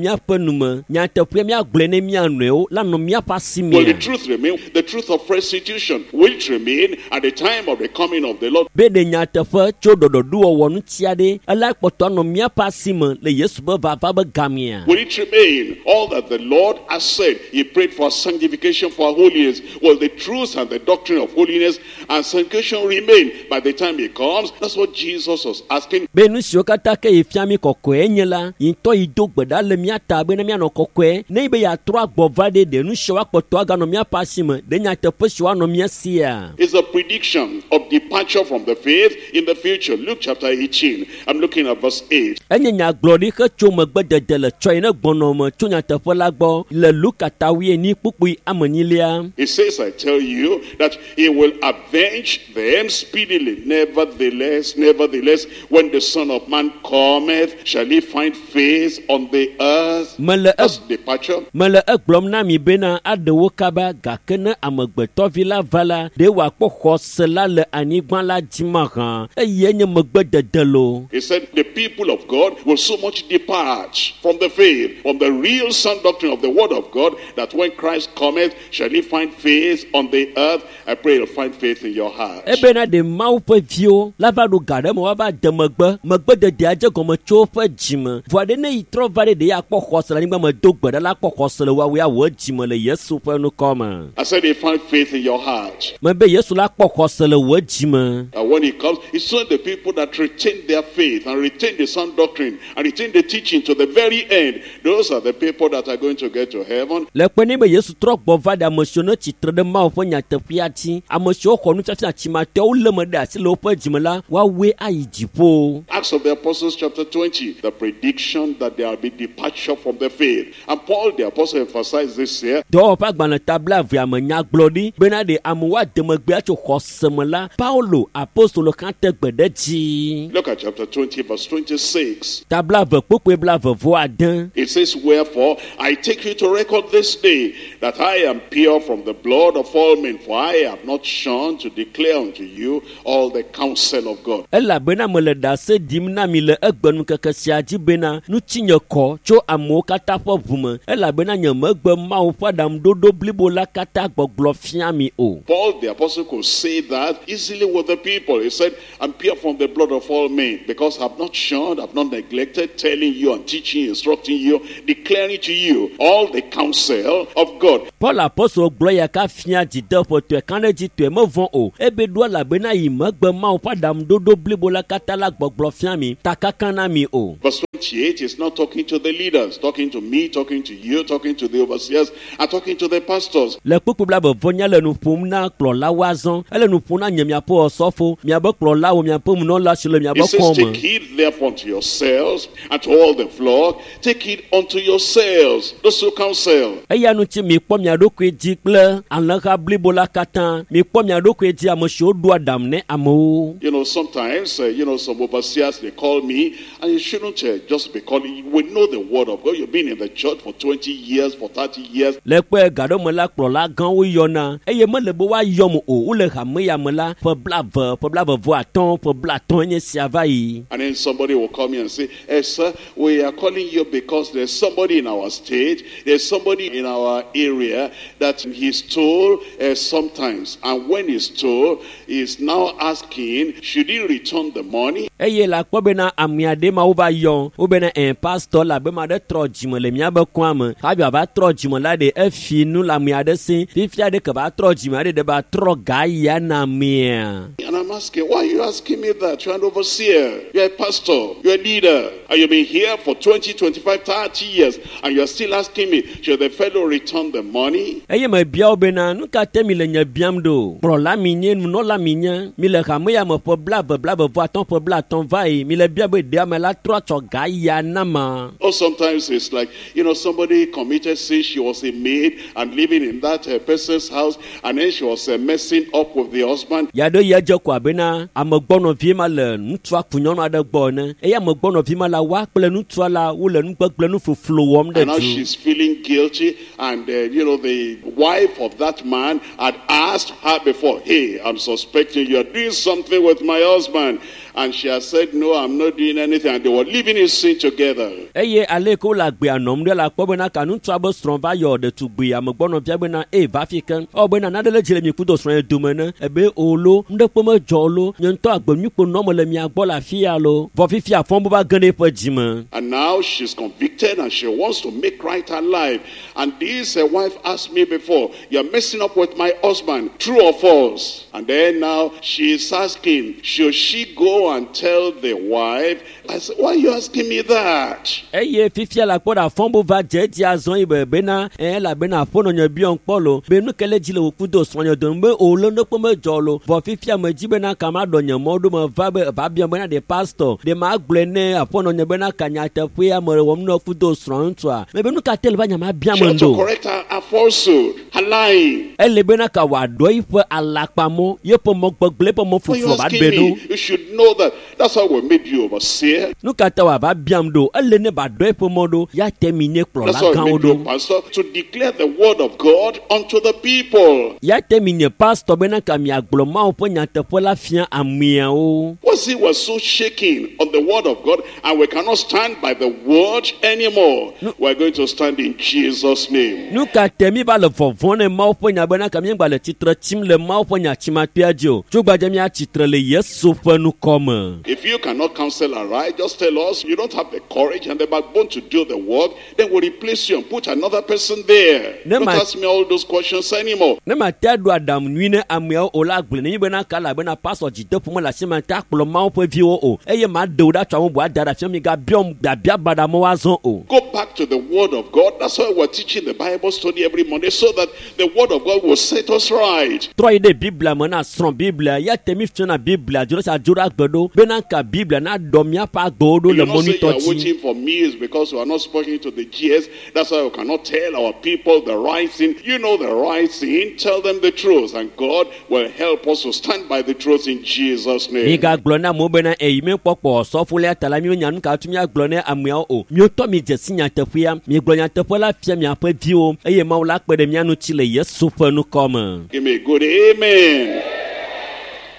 míaƒe nu me, nyateƒea míagblɔe ne mía nɔewo la nɔ míaƒe asi Will the mea. truth remain? The truth of restitution. Will it remain at the time of the coming of the Lord? Be ɖe nyateƒe tso ɖɔɖɔɖowɔwɔ ŋuti aɖe ela kpɔtɔ anɔ míaƒe asi me le Yesu ƒe vava be gamea. Will it remain all that the Lord has said? He prayed for sanctification, for holiness. Will the truth and the doctrine of holiness and sanctification remain by the time he comes? That's what Jesus was asking. Be nu siwo katã ke yi fia mi kɔkɔe nye la, yi ŋutɔ yi do gbe ɖa le mía ta bena míanɔ kɔkɔe. Ne yi be yeatrɔ agbɔ va ɖe, ɖe nu siawo akpɔtɔ aganɔ míaƒe asi me, ɖe nyateƒe siwo anɔ mía sia. It's a prediction of departure from the faith in the future. Luke chapter 18. I'm looking at verse 8. Enye nyagblɔɖi hetso megbedede le tsɔ yi ne gbɔnɔ me tso nyateƒe la gbɔ le Luka ta wuienyi kpukpui ame enyilia. He says, I tell you that he will avenge them speedily. Nevertheless, nevertheless, when the Son of Man cometh, shall he find faith on the earth? Mele Mele That's departure. Mele egblɔm na mi bena aɖe wo kaba gake ne amegbetɔvi la va la, ɖe wòakpɔ xɔse la le anyigba la dzi mahã eye nye megbedede lo. He said the people of God will so much depart from the faith, from the real sound doctrine of the word of God, that when Christ cometh, shall he find faith on the earth? I pray he'll find faith in your heart. Ebena ɖe Mawu ƒe viwo la va ɖo ga ɖe me woava de megbe, megbededea dze gɔme tso woƒe dzime. Vɔa ɖe ne yi trɔ va ɖe ɖe akpɔ xɔse le anyigba me do gbe ɖa la akpɔ xɔse le woawoe awɔ dzime le Yesu ƒe ŋkɔ me. I said he find faith in your heart. Mebe Yesu la kpɔ xɔse le wò dzime. And when he comes, it's only the people that retain their faith and retain the sound doctrine and retain the teaching to the very end. Those are the people that are going to get to heaven. Le kpe ne be Yesu trɔ gbɔ va ɖe ame siwo ne tsitre ɖe Mawu ƒe nyateƒea dzi, ame siwo xɔ nufiafia tsimatɔwo lé me ɖe asi le woƒe dzime la, woawoe ayi dziƒo. Acts of the Apostles chapter 20, the prediction that there will be departure from the faith. And Paul the apostle emphasized this here. Dɔwɔƒe agbalẽ ta blaevea me nyagblɔɖi bena ɖe amewo ade megbea tso xɔse me la, Paulo apostolo hã te gbe ɖe dzi. Look at chapter 20, verse 26. Ta blaeve kpukpui blaeve vɔ ade. It says, Wherefore I take you to record this day that I am pure from the blood of all men, for I have not shunned to declare unto you all the counsel of God. Elabena mele ɖase ɖim na mi le egbenukeke sia dzi bena ŋutinye kɔ tso amewo katã ƒe ʋu me elabena nye megbe Mawu ƒe aɖaŋuɖoɖo blibo la katã gbɔgblɔ fia mi o. Paul the apostle could say that easily with the people. He said, I'm pure from the blood of all men, because I've not shunned, I've not neglected telling you and teaching, instructing you, declaring to you all the counsel of God. Paul apostol gblɔ ya ka fia dzideƒotɔe ka ɖe dzitɔe mevɔ̃ o. Ebe ɖo elabena yi megbe Mawu ƒe aɖaŋuɖoɖo blibo la katã la gbɔgblɔ fia mi, takaka na mi o. Verse 28 is not talking to the leaders, talking to me, talking to you, talking to the overseers, and talking to the pastors. Le kpukpui blaeve vɔ nya le nu ƒom na kplɔlawo azɔ. Ele nu ƒom na nye miaƒe osɔfo, miabe kplɔlawo, miaƒe nunɔla si le miabe He says, kɔme. Take heed therefore unto yourselves and to all the flock. Take heed unto yourselves, those who counsel. Eya ŋuti mikpɔ mia ɖokui dzi kple alẽha blibo la katã. Mikpɔ mia ɖokui dzi ame siwo ɖoa aɖaŋu ne amewo. You know, sometimes, some overseers, they call me, and you shouldn't just be calling. We know the word of God. You've been in the church for 20 years, for 30 years. Le kpe gaɖome la kplɔla gãwo yɔna eye mele be woayɔm o. Wole hame ya me la ƒe blaeve, ƒe blaeve vɔ atɔ̃, ƒe blaatɔ̃ nye sia va yi. And then somebody will come here and say, Hey, sir, we are calling you because there's somebody in our state, there's somebody in our area that he stole sometimes. And when he stole, he's now asking, should he return the money? Eye le akpɔ bena ame aɖe ma wova yɔ wobena ɛ pastor la be ma ɖe trɔ dzime le miabe kɔa me hafi wòava trɔ dzime la ɖe efi nu le ame aɖe si fifia ɖe ke va trɔ dzime aɖe ɖe va trɔ ga ya na amea. And I'm asking, why are you asking me that? You're an overseer, you're a pastor, you're a leader, and you've been here for 20, 25, 30 years, and you're still asking me, should the fellow return the money? Eye mebia wo bena nu ka te mi le nye biam ɖo? Kplɔla mi nye, nunɔla mi nye, mi le hame ya me ƒe blaeve, blaeve vɔ atɔ̃, ƒe blaatɔ̃ va yi, mi le bia be ɖe ame la trɔ tsɔ ga ya na ma. Or sometimes it's like, somebody committed sin, she was a maid and living in that person's house, and then she was messing up with the husband. Ya ɖe ya dze ko abena amegbɔnɔvi ma le ŋutsua ku nyɔnu aɖe gbɔ ene eye amegbɔnɔvi ma la woa kple ŋutsua la wole nugbegble nufoflo wɔm ɖe And now du. she's feeling guilty, and the wife of that man had asked her before, hey, I'm suspecting you're doing something with my husband. And she has said, no, I'm not doing anything. And they were living in sin together. Eye ale yi ke wole agbea nɔm ɖe la kpɔ bena ka ŋutsua be srɔ̃ va yɔ ɖetugbui amegbɔnɔvia bena ey va fi ke ewɔ bena naɖe le dzi le mi kudo srɔ̃ ye dome ne ebe o lo nuɖekpe medzɔ o lo nye ŋutɔ agbenyuikpo nɔm le mia gbɔ le afi ya lo vɔ fifia fɔm va ge ɖe eƒe dzime. And now she's convicted and she wants to make right her life. And this wife asked me before, you're messing up with my husband, true or false? And then now she's asking, should she go and tell the wife? I said, why are you asking me that? Eye fifia la kpɔ ɖe afɔmbo va dze edzi azɔ yi be bena elabena aƒenɔ nye biɔ kpɔ lo be nu ke le dzi le wò kudo srɔ̃nye dome be o lo nuɖekpe medzɔ lo vɔ fifia me dzi bena ka ma ɖɔ nye mɔ ɖo me va be va biɔ bena ɖe pastor ɖe ma gblɔe ne aƒenɔ nye bena ka nyateƒea me wɔm nɔ kudo srɔ̃ ŋutsua me be nu ka te le va nya ma bia She me ought to ɖo. correct her falsehood, her lying. Ele bena ka wòaɖɔ eƒe alakpamɔ yeƒe mɔ gbegblẽ eƒe mɔ Why are you foflo va asking ɖe ɖo. me? You should know that. That's how we made you overseer. Nu ka ta wòava biam ɖo? Ele ne ba ɖɔ eƒe mɔ ɖo ya te mi nye That's kplɔla why I gãwo made you a ɖo. pastor to declare the word of God unto the people. Ya te mi nye pastor bena ka miagblɔ Mawu ƒe nyateƒe la fia ameawo. Was it was so shaking on the word of God, and we cannot stand by the word anymore. We're going to stand in Jesus' name. Nu ka te mi va le vɔvɔ̃ ne Mawu ƒe nya bena ka míegba le tsitre tsim le Mawu ƒe nya tsimakpea dzi o. Tso gbadze míatsitre le Yesu ƒe nukɔme. If you cannot counsel aright, just tell us you don't have the courage and the backbone to do the work, then we'll replace you and put another person there. Ne Don't ma- ask me all those questions anymore. Ne mate aɖo aɖaŋu nyui ne ameawo o la gblɔe ne mi bena ka elabena pastor dzideƒo mele asi ma te akplɔ Mawu ƒe viwo o eye maɖe wo ɖa tso ame bubu ada ɖe afia mi gabiɔm biabia baɖa me woazɔ o. Go back to the Word of God. That's why we're teaching the Bible study every Monday, so that the Word of God will set us right. Trɔ yi ɖe Biblia me na srɔ̃ Biblia ya te mi fiana Biblia dzo ɖe sia dzo ɖe agbe ɖo bena ka Biblia na ɖɔ míaƒe agbewo ɖo You le not say you mɔnutɔ are dzi. waiting for me is because we are not speaking to the GS. That's why we cannot tell our people the right thing. You know the right thing. Tell them the truth, and God will help us to stand by the truth in Jesus' name. Migagblɔ na amewo bena eyi míekpɔkpɔ sɔfolia ta la míenya nu ka tu míagblɔ ne ameawo o. Miotɔ mi dze si nyateƒea, miegblɔ nyateƒe la fia miaƒe viwo eye Mawu la kpe ɖe mía ŋuti le Yesu ƒe nukɔme. Give me a good amen.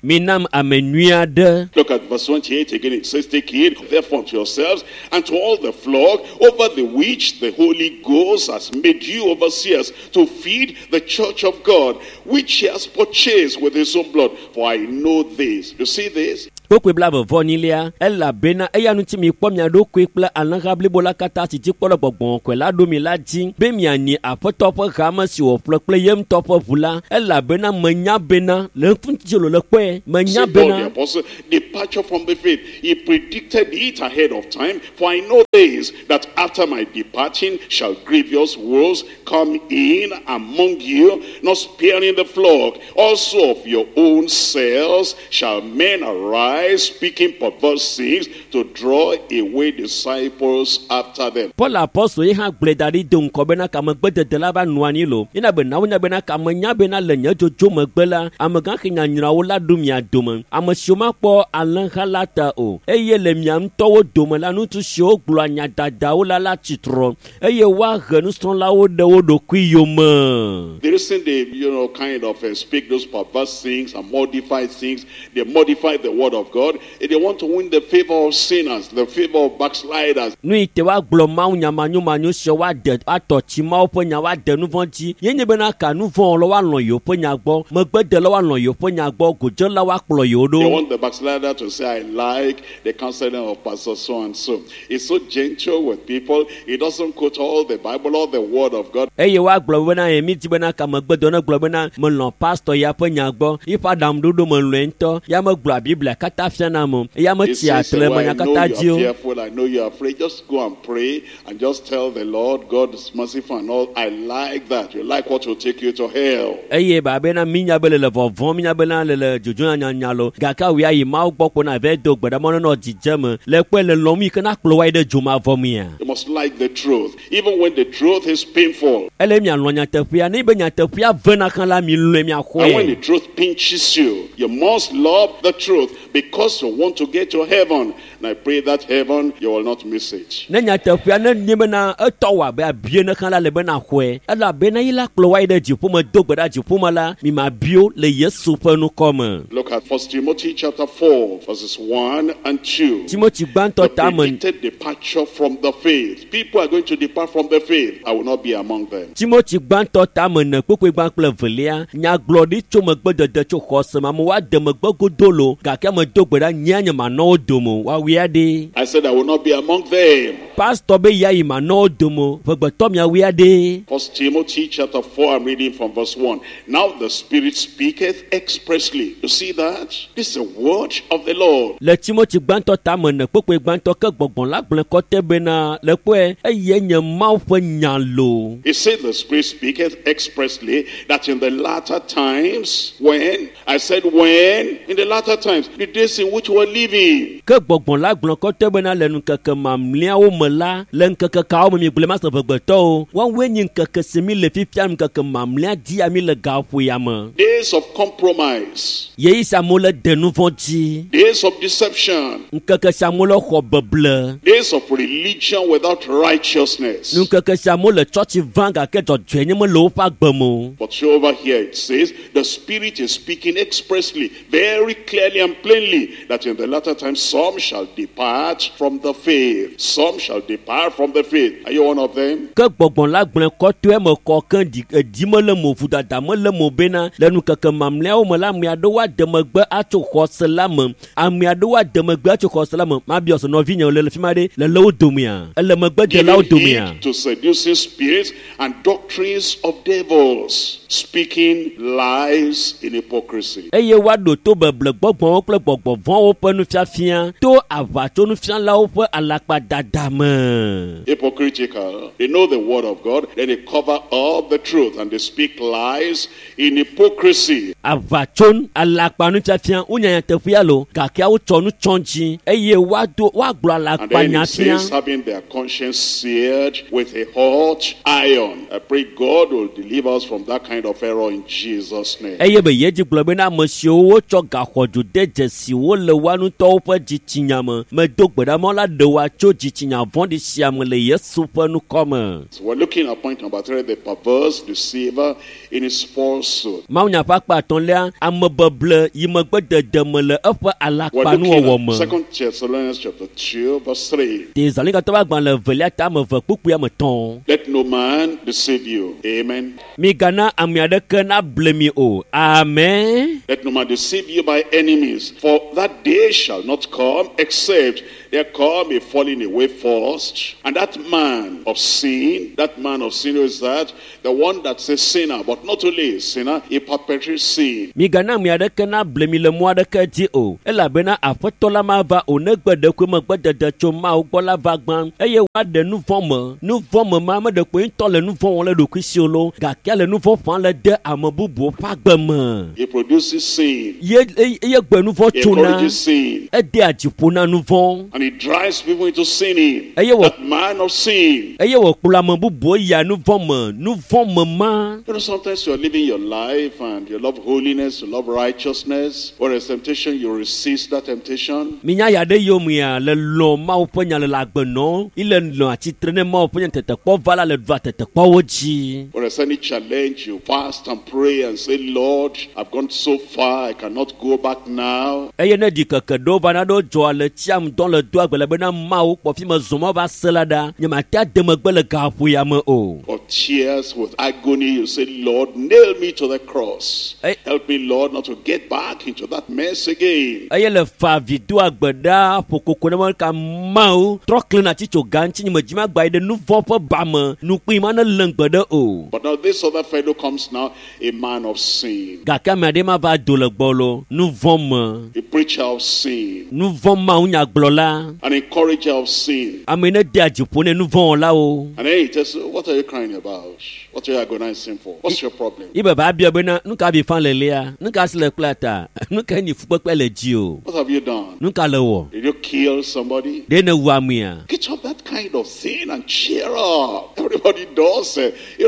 Minam ame nyui aɖe. Look at verse 28 again. It says, Take heed therefore unto yourselves and to all the flock over the which the Holy Ghost has made you overseers to feed the church of God, which he has purchased with his own blood. For I know this. You see this? Kpokpoe blaeve-vɔ-enyilia elabena eya ŋuti mikpɔ mia ɖokui kple alẽha blibo la katã si dzi kpɔ le gbɔgbɔ kɔkɔe la ɖo mi la dzi be mianyi Aƒetɔ ƒe hame si wòƒle kple ye ŋutɔ ƒe ʋu la elabena menya bena le ŋuti lo le kpɔe menya See Paul the bena apostle, departure from the faith. He predicted it ahead of time. For I know this, that after my departing shall grievous wolves come in among you, not sparing the flock. Also of your own selves shall men arise, speaking perverse things, to draw away disciples after them. Paul apɔstol ye hã gblɔe da ɖi do ŋkɔ bena kamegbedede la va nɔ anyi lo yina be nawo nya bena kamenya bena le nye dzodzo megbe la amegãxi nyanyrãwo la ɖo mia dome ame siwo makpɔ alẽha la ta o eye le mia ŋutɔwo dome la ŋutsu siwo gblɔa nya dadawo la la tsitrɔ eye woahe nusrɔ̃lawo ɖe wo ɖokui yome. The reason they, kind of speak those perverse things and modify things, they modify the word of God. They want to win the favor of sinners, the favor of backsliders. Nu yi te woagblɔ mawu nya manyomanyo sia woade atɔ tsi mawu ƒe nya woade nu vɔ̃ dzi ye nye bena ka nu vɔ̃ wɔlawo woalɔ̃ yewo ƒe nya gbɔ megbedelawo woalɔ̃ yewo ƒe nya gbɔ godzelawo akplɔ yewo They ɖo. want the backslider to say, I like the counseling of Pastor so and so. He's so gentle with people. He doesn't quote all the Bible or the word of God. Eye woagblɔ bena ye mi di bena ka megbedɔ ne gblɔ bena melɔ̃ pastor ya ƒe nya gbɔ yiƒe aɖaŋuɖoɖo melɔ̃e ŋutɔ ya megblɔa Biblia katã fiana ame o eya He metsia says, tre well, me nya I know katã you dzi are o. fearful. I know you are afraid. Just go and pray and just tell the Lord, God is merciful and all. I like that. You like what will take you to hell. Eye babena minya be le le vɔvɔ̃m minya bena le le dzodzo nyanya lo gake awu ya yi Mawu gbɔ ko na va do gbe ɖa mɔ nenɔ dzidze me le kpɔe le lɔm yi ke na kplɔ wa yi ɖe dzomavɔ mea. You must like the truth, even when the truth is painful. Ele mialɔ̃ nyateƒea ne be nyateƒea vena hã la mi lɔ̃e And when the miaxɔe. truth pinches you, you must love the truth because you want to get to heaven. And I pray that heaven, you will not miss it. Ne nyateƒea ne nye bena etɔ wɔ abe abie ne hã la le bena xɔe elabena yi la kplɔ wa yi ɖe dziƒome do gbe ɖa dziƒome la mi ma bio le Yesu ƒe nukɔme. Look at 1 Timothy chapter 4, verses 1 and 2. Timothy The gbãtɔ tame predicted departure from the faith. People are going to depart from the faith. I will not be among them. Timothy gbãtɔ tame ene kpukpui gbã kple evelia nyagblɔɖi tso megbedede tso xɔse me amewo ade megbe godo lo gake ame do gbe ɖa nyea nye manɔ wo dome o woawui aɖe. I said I will not be among them. Pastor be ya yi manɔ wo dome o ʋegbetɔ miawui aɖe. First Timothy chapter 4, I'm reading from verse 1. Now the Spirit speaketh expressly. You see that? This is the word of the Lord. Le Timothy gbãtɔ tame ene kpukpui gbãtɔ ke gbɔgbɔ la gblẽ kɔtɛ bena le kpɔe eye nye Mawu ƒe nya lo. He said the Spirit speaketh expressly that in the latter times, when, I said when, in the latter times, the days in which we're living, Ke gbɔgbɔ la gblẽ kɔtɛ bena le ŋkeke mamlɛawo me me la le ŋkeke kawo me mi gblẽ ma se ʋegbetɔwo woawoe nye ŋkeke si mi le fifia ŋkeke mamlɛa dia mi le gaƒo ya me. Days of compromise, Yeyi sia amewo le de nu vɔ̃ dzi. days of deception, Ŋkeke sia amewo le xɔ beble. days of religion without righteousness. Ŋkeke sia amewo le tsɔtsi vam gake dzɔdzɔenye mele woƒe agbe me o. But so over here it says the Spirit is speaking expressly, very clearly and plainly, that in the latter time some shall depart from the faith. Some shall depart from the faith. Are you one of them? Ke gbɔgbɔ la gblẽ kɔtɔe me kɔ ke ɖi edzi mele mo vodada mele mo bena le nukeke mamlɛawo me la ame aɖewo ade megbe atso xɔse la me ame aɖewo ade megbe atso xɔse la me mabiɔ se nɔvinye le le fi ma ɖe le le wo domea ele megbe delawo Giving domea. heed to seducing spirits and doctrines of devils, speaking lies in hypocrisy. Eye woaɖo to beble gbɔgbɔwo kple gbɔgbɔ vɔ̃wo ƒe nufiafia to aʋatsonufialawo ƒe alakpadada me. Hypocritical. They know the word of God, then they cover up the truth and they speak lies in hypocrisy. Aʋatso alakpanufiafia wonya nyateƒea lo gake wotsɔ nu tsɔ dzi eye woado woagblɔ And then alakpanya it fia. says, having their conscience seared with a hot iron. I pray God will deliver us from that kind of error in Jesus' name. Eye be yedzi gblɔ bena ame siwo wotsɔ gaxɔdzo de dzesi wo le woa ŋutɔwo ƒe dzitsinya me medo gbe ɖa mɔ la ɖe woa tso dzitsinya vɔ̃ɖi sia me le Yesu ƒe ŋkɔ me. So we're looking at point number 3, the perverse deceiver in his falsehood. Mawunya ƒe akpa atɔ̃lia amebeble yi megbe dede me le eƒe We're alakpanuwɔwɔ looking me. at 2 Thessalonians chapter 2, verse 3. Tesalonikato ƒe agbalẽ evelia ta ame eve kpukpui ame etɔ̃. Let no man deceive you. Amen. Migana ame aɖeke nable mi o. Amen. Let no man deceive you by enemies, for that day shall not come except there come a falling away first. And that man of sin, that man of sin who is that? The one that's a sinner, but not only a sinner, he perpetrates sin. Migana ame aɖeke nable mi le mɔ aɖeke dzi o elabena aƒetɔ la mava o negbe ɖekui megbedede tso Mawu gbɔ la va gbã eye woaɖe nu vɔ̃ me. Nu vɔ̃ me ma ame ɖekpo ŋutɔ le nu vɔ̃ wɔm le ɖokui si o lo gake le nu vɔ̃ ƒã le de ame bubuwo ƒe agbe me. He produces sin. Ye eye eye gbe nu vɔ̃ He tsona encourages sin. edea dziƒo na nu vɔ̃ And he drives people into sinning. Eye wɔ That man of sin. eye wòkplɔ ame bubuwo yia nu vɔ̃ me nu vɔ̃ me ma. You know, sometimes you're living your life and you love holiness, you love righteousness. Whereas temptation, you resist that temptation. Minya ya ɖe yomea le lɔ Mawu ƒe nya le le agbe nɔm ile nɔ atsitre ne Mawu ƒe nya tetekpɔ va la le ɖua tetekpɔwo dzi. Whereas any challenge, you fast and pray and say, Lord, I've gone so far, I cannot go back now. Eye ne ɖikeke ɖewo va na ɖewo dzɔa le tsiam dɔn le doa gbe le bena Mawu kpɔ fi me zɔm va se la ɖa nyemate ade megbe le gaƒo ya me o. Or tears with agony, you say, Lord, nail me to the cross. Hey. Help me, Lord, not to get back into that mess again. Eye le fa vi doa gbe ɖa ƒo koko ne me ka Mawu trɔ kle na tsi tso ga ŋuti nye me dzi magba yi ɖe nu vɔ̃ ƒe ba me nukpui ma ne lém gbe ɖe o. But now this other fellow comes now, a man of sin, Gake ame aɖe ma va do le gbɔ lo nu vɔ̃ me. a preacher of sin, Nu vɔ̃ Mawu nyagblɔla an encourager of sin. ame yi ne dea dziƒo ne nu vɔ̃ wɔlawo. And then he tells you, what are you crying about? What are you agonizing for? What's your problem? Ibe ba bia bena nu ka vi fa lelia nu ka si le kpla ta nu ka nyi fukpekpe le dzi o What have you done? nu ka le wɔ Did you kill somebody? ɖe ne wu amea. Get up that kind of thing and cheer up. Everybody does,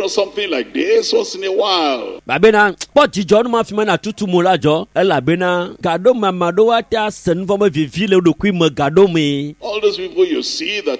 something like this once in a while. Babena kpɔ dzidzɔ nu ma fi ma na tutu mo la dzɔ elabena gaɖo me ame aɖewo ate ase nu vɔ̃ be vivi le wo ɖokui me gaɖo mee. All those people you see that,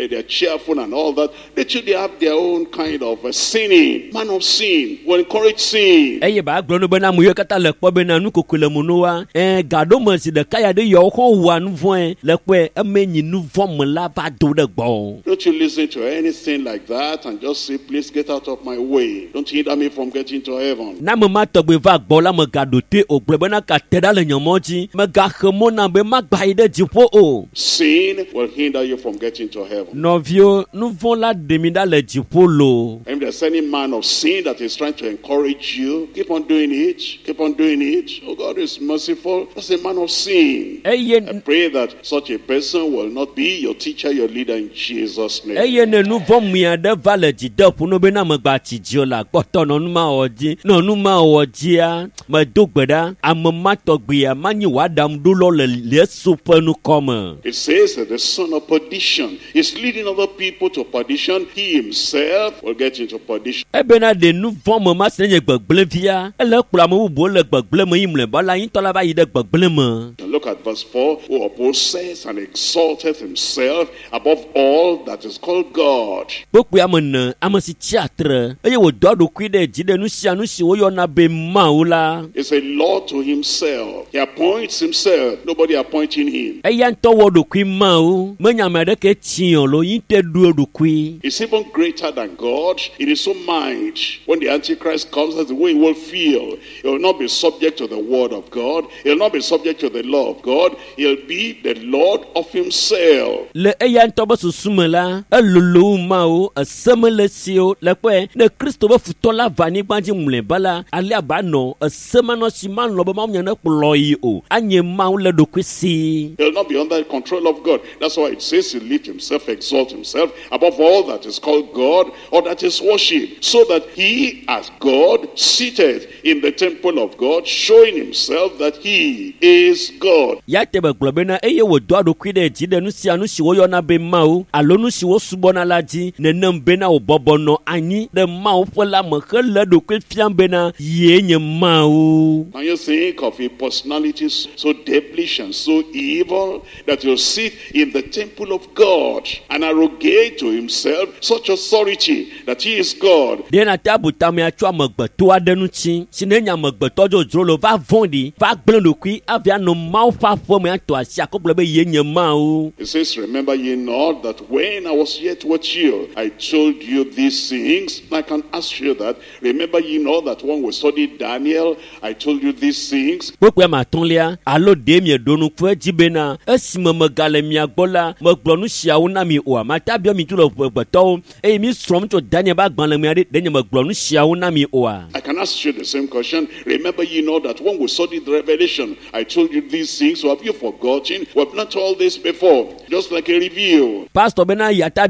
they're cheerful and all that, they too, they have their own kind of sinning. Man of sin will encourage sin. Eye ba gblɔ nu bena ame yiwo katã le kpɔ bena nu kokoe le mo no wa ɛɛ gaɖo me zi ɖeka ya ɖe yawo xɔ wua nu vɔ̃e le kpɔe eme nyi nu vɔ̃ me la va do ɖe gbɔ. Don't you listen to anything like that and just say, please get out of my way. Don't hinder me from getting to heaven. Na ame ma tɔgbe va gbɔ la megaɖo toe o gblɔ bena ka te ɖa le nye mɔ dzi megaxe mɔ nam be magba yi ɖe dziƒo o. Sin will hinder you from getting to heaven. Nɔviwo, nu vɔ̃ la ɖe mi ɖa le dziƒo lo. loo. If there's any man of sin that is trying to encourage you, keep on doing it. Keep on doing it. Oh, God is merciful. That's a man of sin. Eye I pray that such a person will not be your teacher, your leader in Jesus' name. Eye ne nu vɔ̃ mui aɖe va le dzi de ƒo no bena megba tsi dzi o la, kpɔtɔ nɔ nu ma wɔ dzi. Nɔ nu ma wɔ dzia, medo gbe ɖa, ame ma tɔgbea manyi wò aɖaŋuɖolɔ le Yesu ƒe ŋkɔ me. It says that the son of perdition is leading other people to perdition. He himself will get into perdition. Ebena ɖe nu vɔ̃ me ma si nye gbegblẽvia, ele kplɔ ame bubuwo le gbegblẽ me yi mlɔeba la, ŋutɔ la va yi ɖe gbegblẽ me. And look at verse 4. Who opposes and exalteth himself above all that is called God. Kpokpoe ame ene, ame si tsi atre eye wòdɔ eɖokui ɖe dzi ɖe nu sia nu si woyɔna be Mawu la. Is a Lord to himself. He appoints himself. Nobody appointing him. Eya ŋutɔ wɔ ɖokui Mawu, menye ame aɖeke tsi o lo, yi ŋutɔe ɖo eɖokui. He's even greater than God in his own mind. When the Antichrist comes, that's the way he will feel. He will not be subject to the word of God. He'll not be subject to the law of God. He'll be the Lord of himself. Le eya ŋutɔ be susu me la, elolo wu Mawu, ese mele esi o. Le kpɔe, ne Kristo be futɔ la va anyigba dzi mlɔeba la, alea ba nɔ ese manɔ si malɔ̃ be Mawu nya ne kplɔ yi o. Anye Mawu le ɖokui si. He'll not be under the control of God. That's why it says he lift himself, exalt himself above all that is called God or that is worshipped, so that he, as God, seated in the temple of God, showing himself that he is God. Ya te be gblɔ bena eye wòdɔ eɖokui ɖe dzi ɖe nu sia nu si woyɔna be Mawu alo nu si wosubɔna la dzi nenem bena wòbɔbɔ nɔ anyi ɖe Mawu ƒe la me hele eɖokui fiam bena yee nye Mawu. Can you think of a personality so devilish and so evil that will sit in the temple of God and arrogate to himself such authority that he is God? Ɖe nate abu tamea tso amegbetɔ aɖe ŋuti si ne nye amegbetɔ dzodzro lo va vɔ̃ɖi va gblẽ ɖokui avi anɔ Mawu ƒe aƒe me atɔ asi akɔ gblɔ be yee nye Mawu. It says, remember ye not that when I was yet with you, I told you these things. I can ask you that. Remember ye not that when we studied Daniel, I told you these things. Kpokpoe ame atɔ̃lia alo ɖe mieɖo ŋku edzi bena esime megale mia gbɔ la megblɔ nu siawo na mi oa? Mate abiɔ mi tso le ƒegbetɔwo eye mi srɔ̃m tso Daniel ƒe agbalẽ me aɖe ɖe nye megblɔ nu siawo na mi oa? I can ask you the same question. Remember ye not that when we studied the Revelation, I told you these things. So have you forgotten? We have not told this before. Just like a review. Pastor bena yata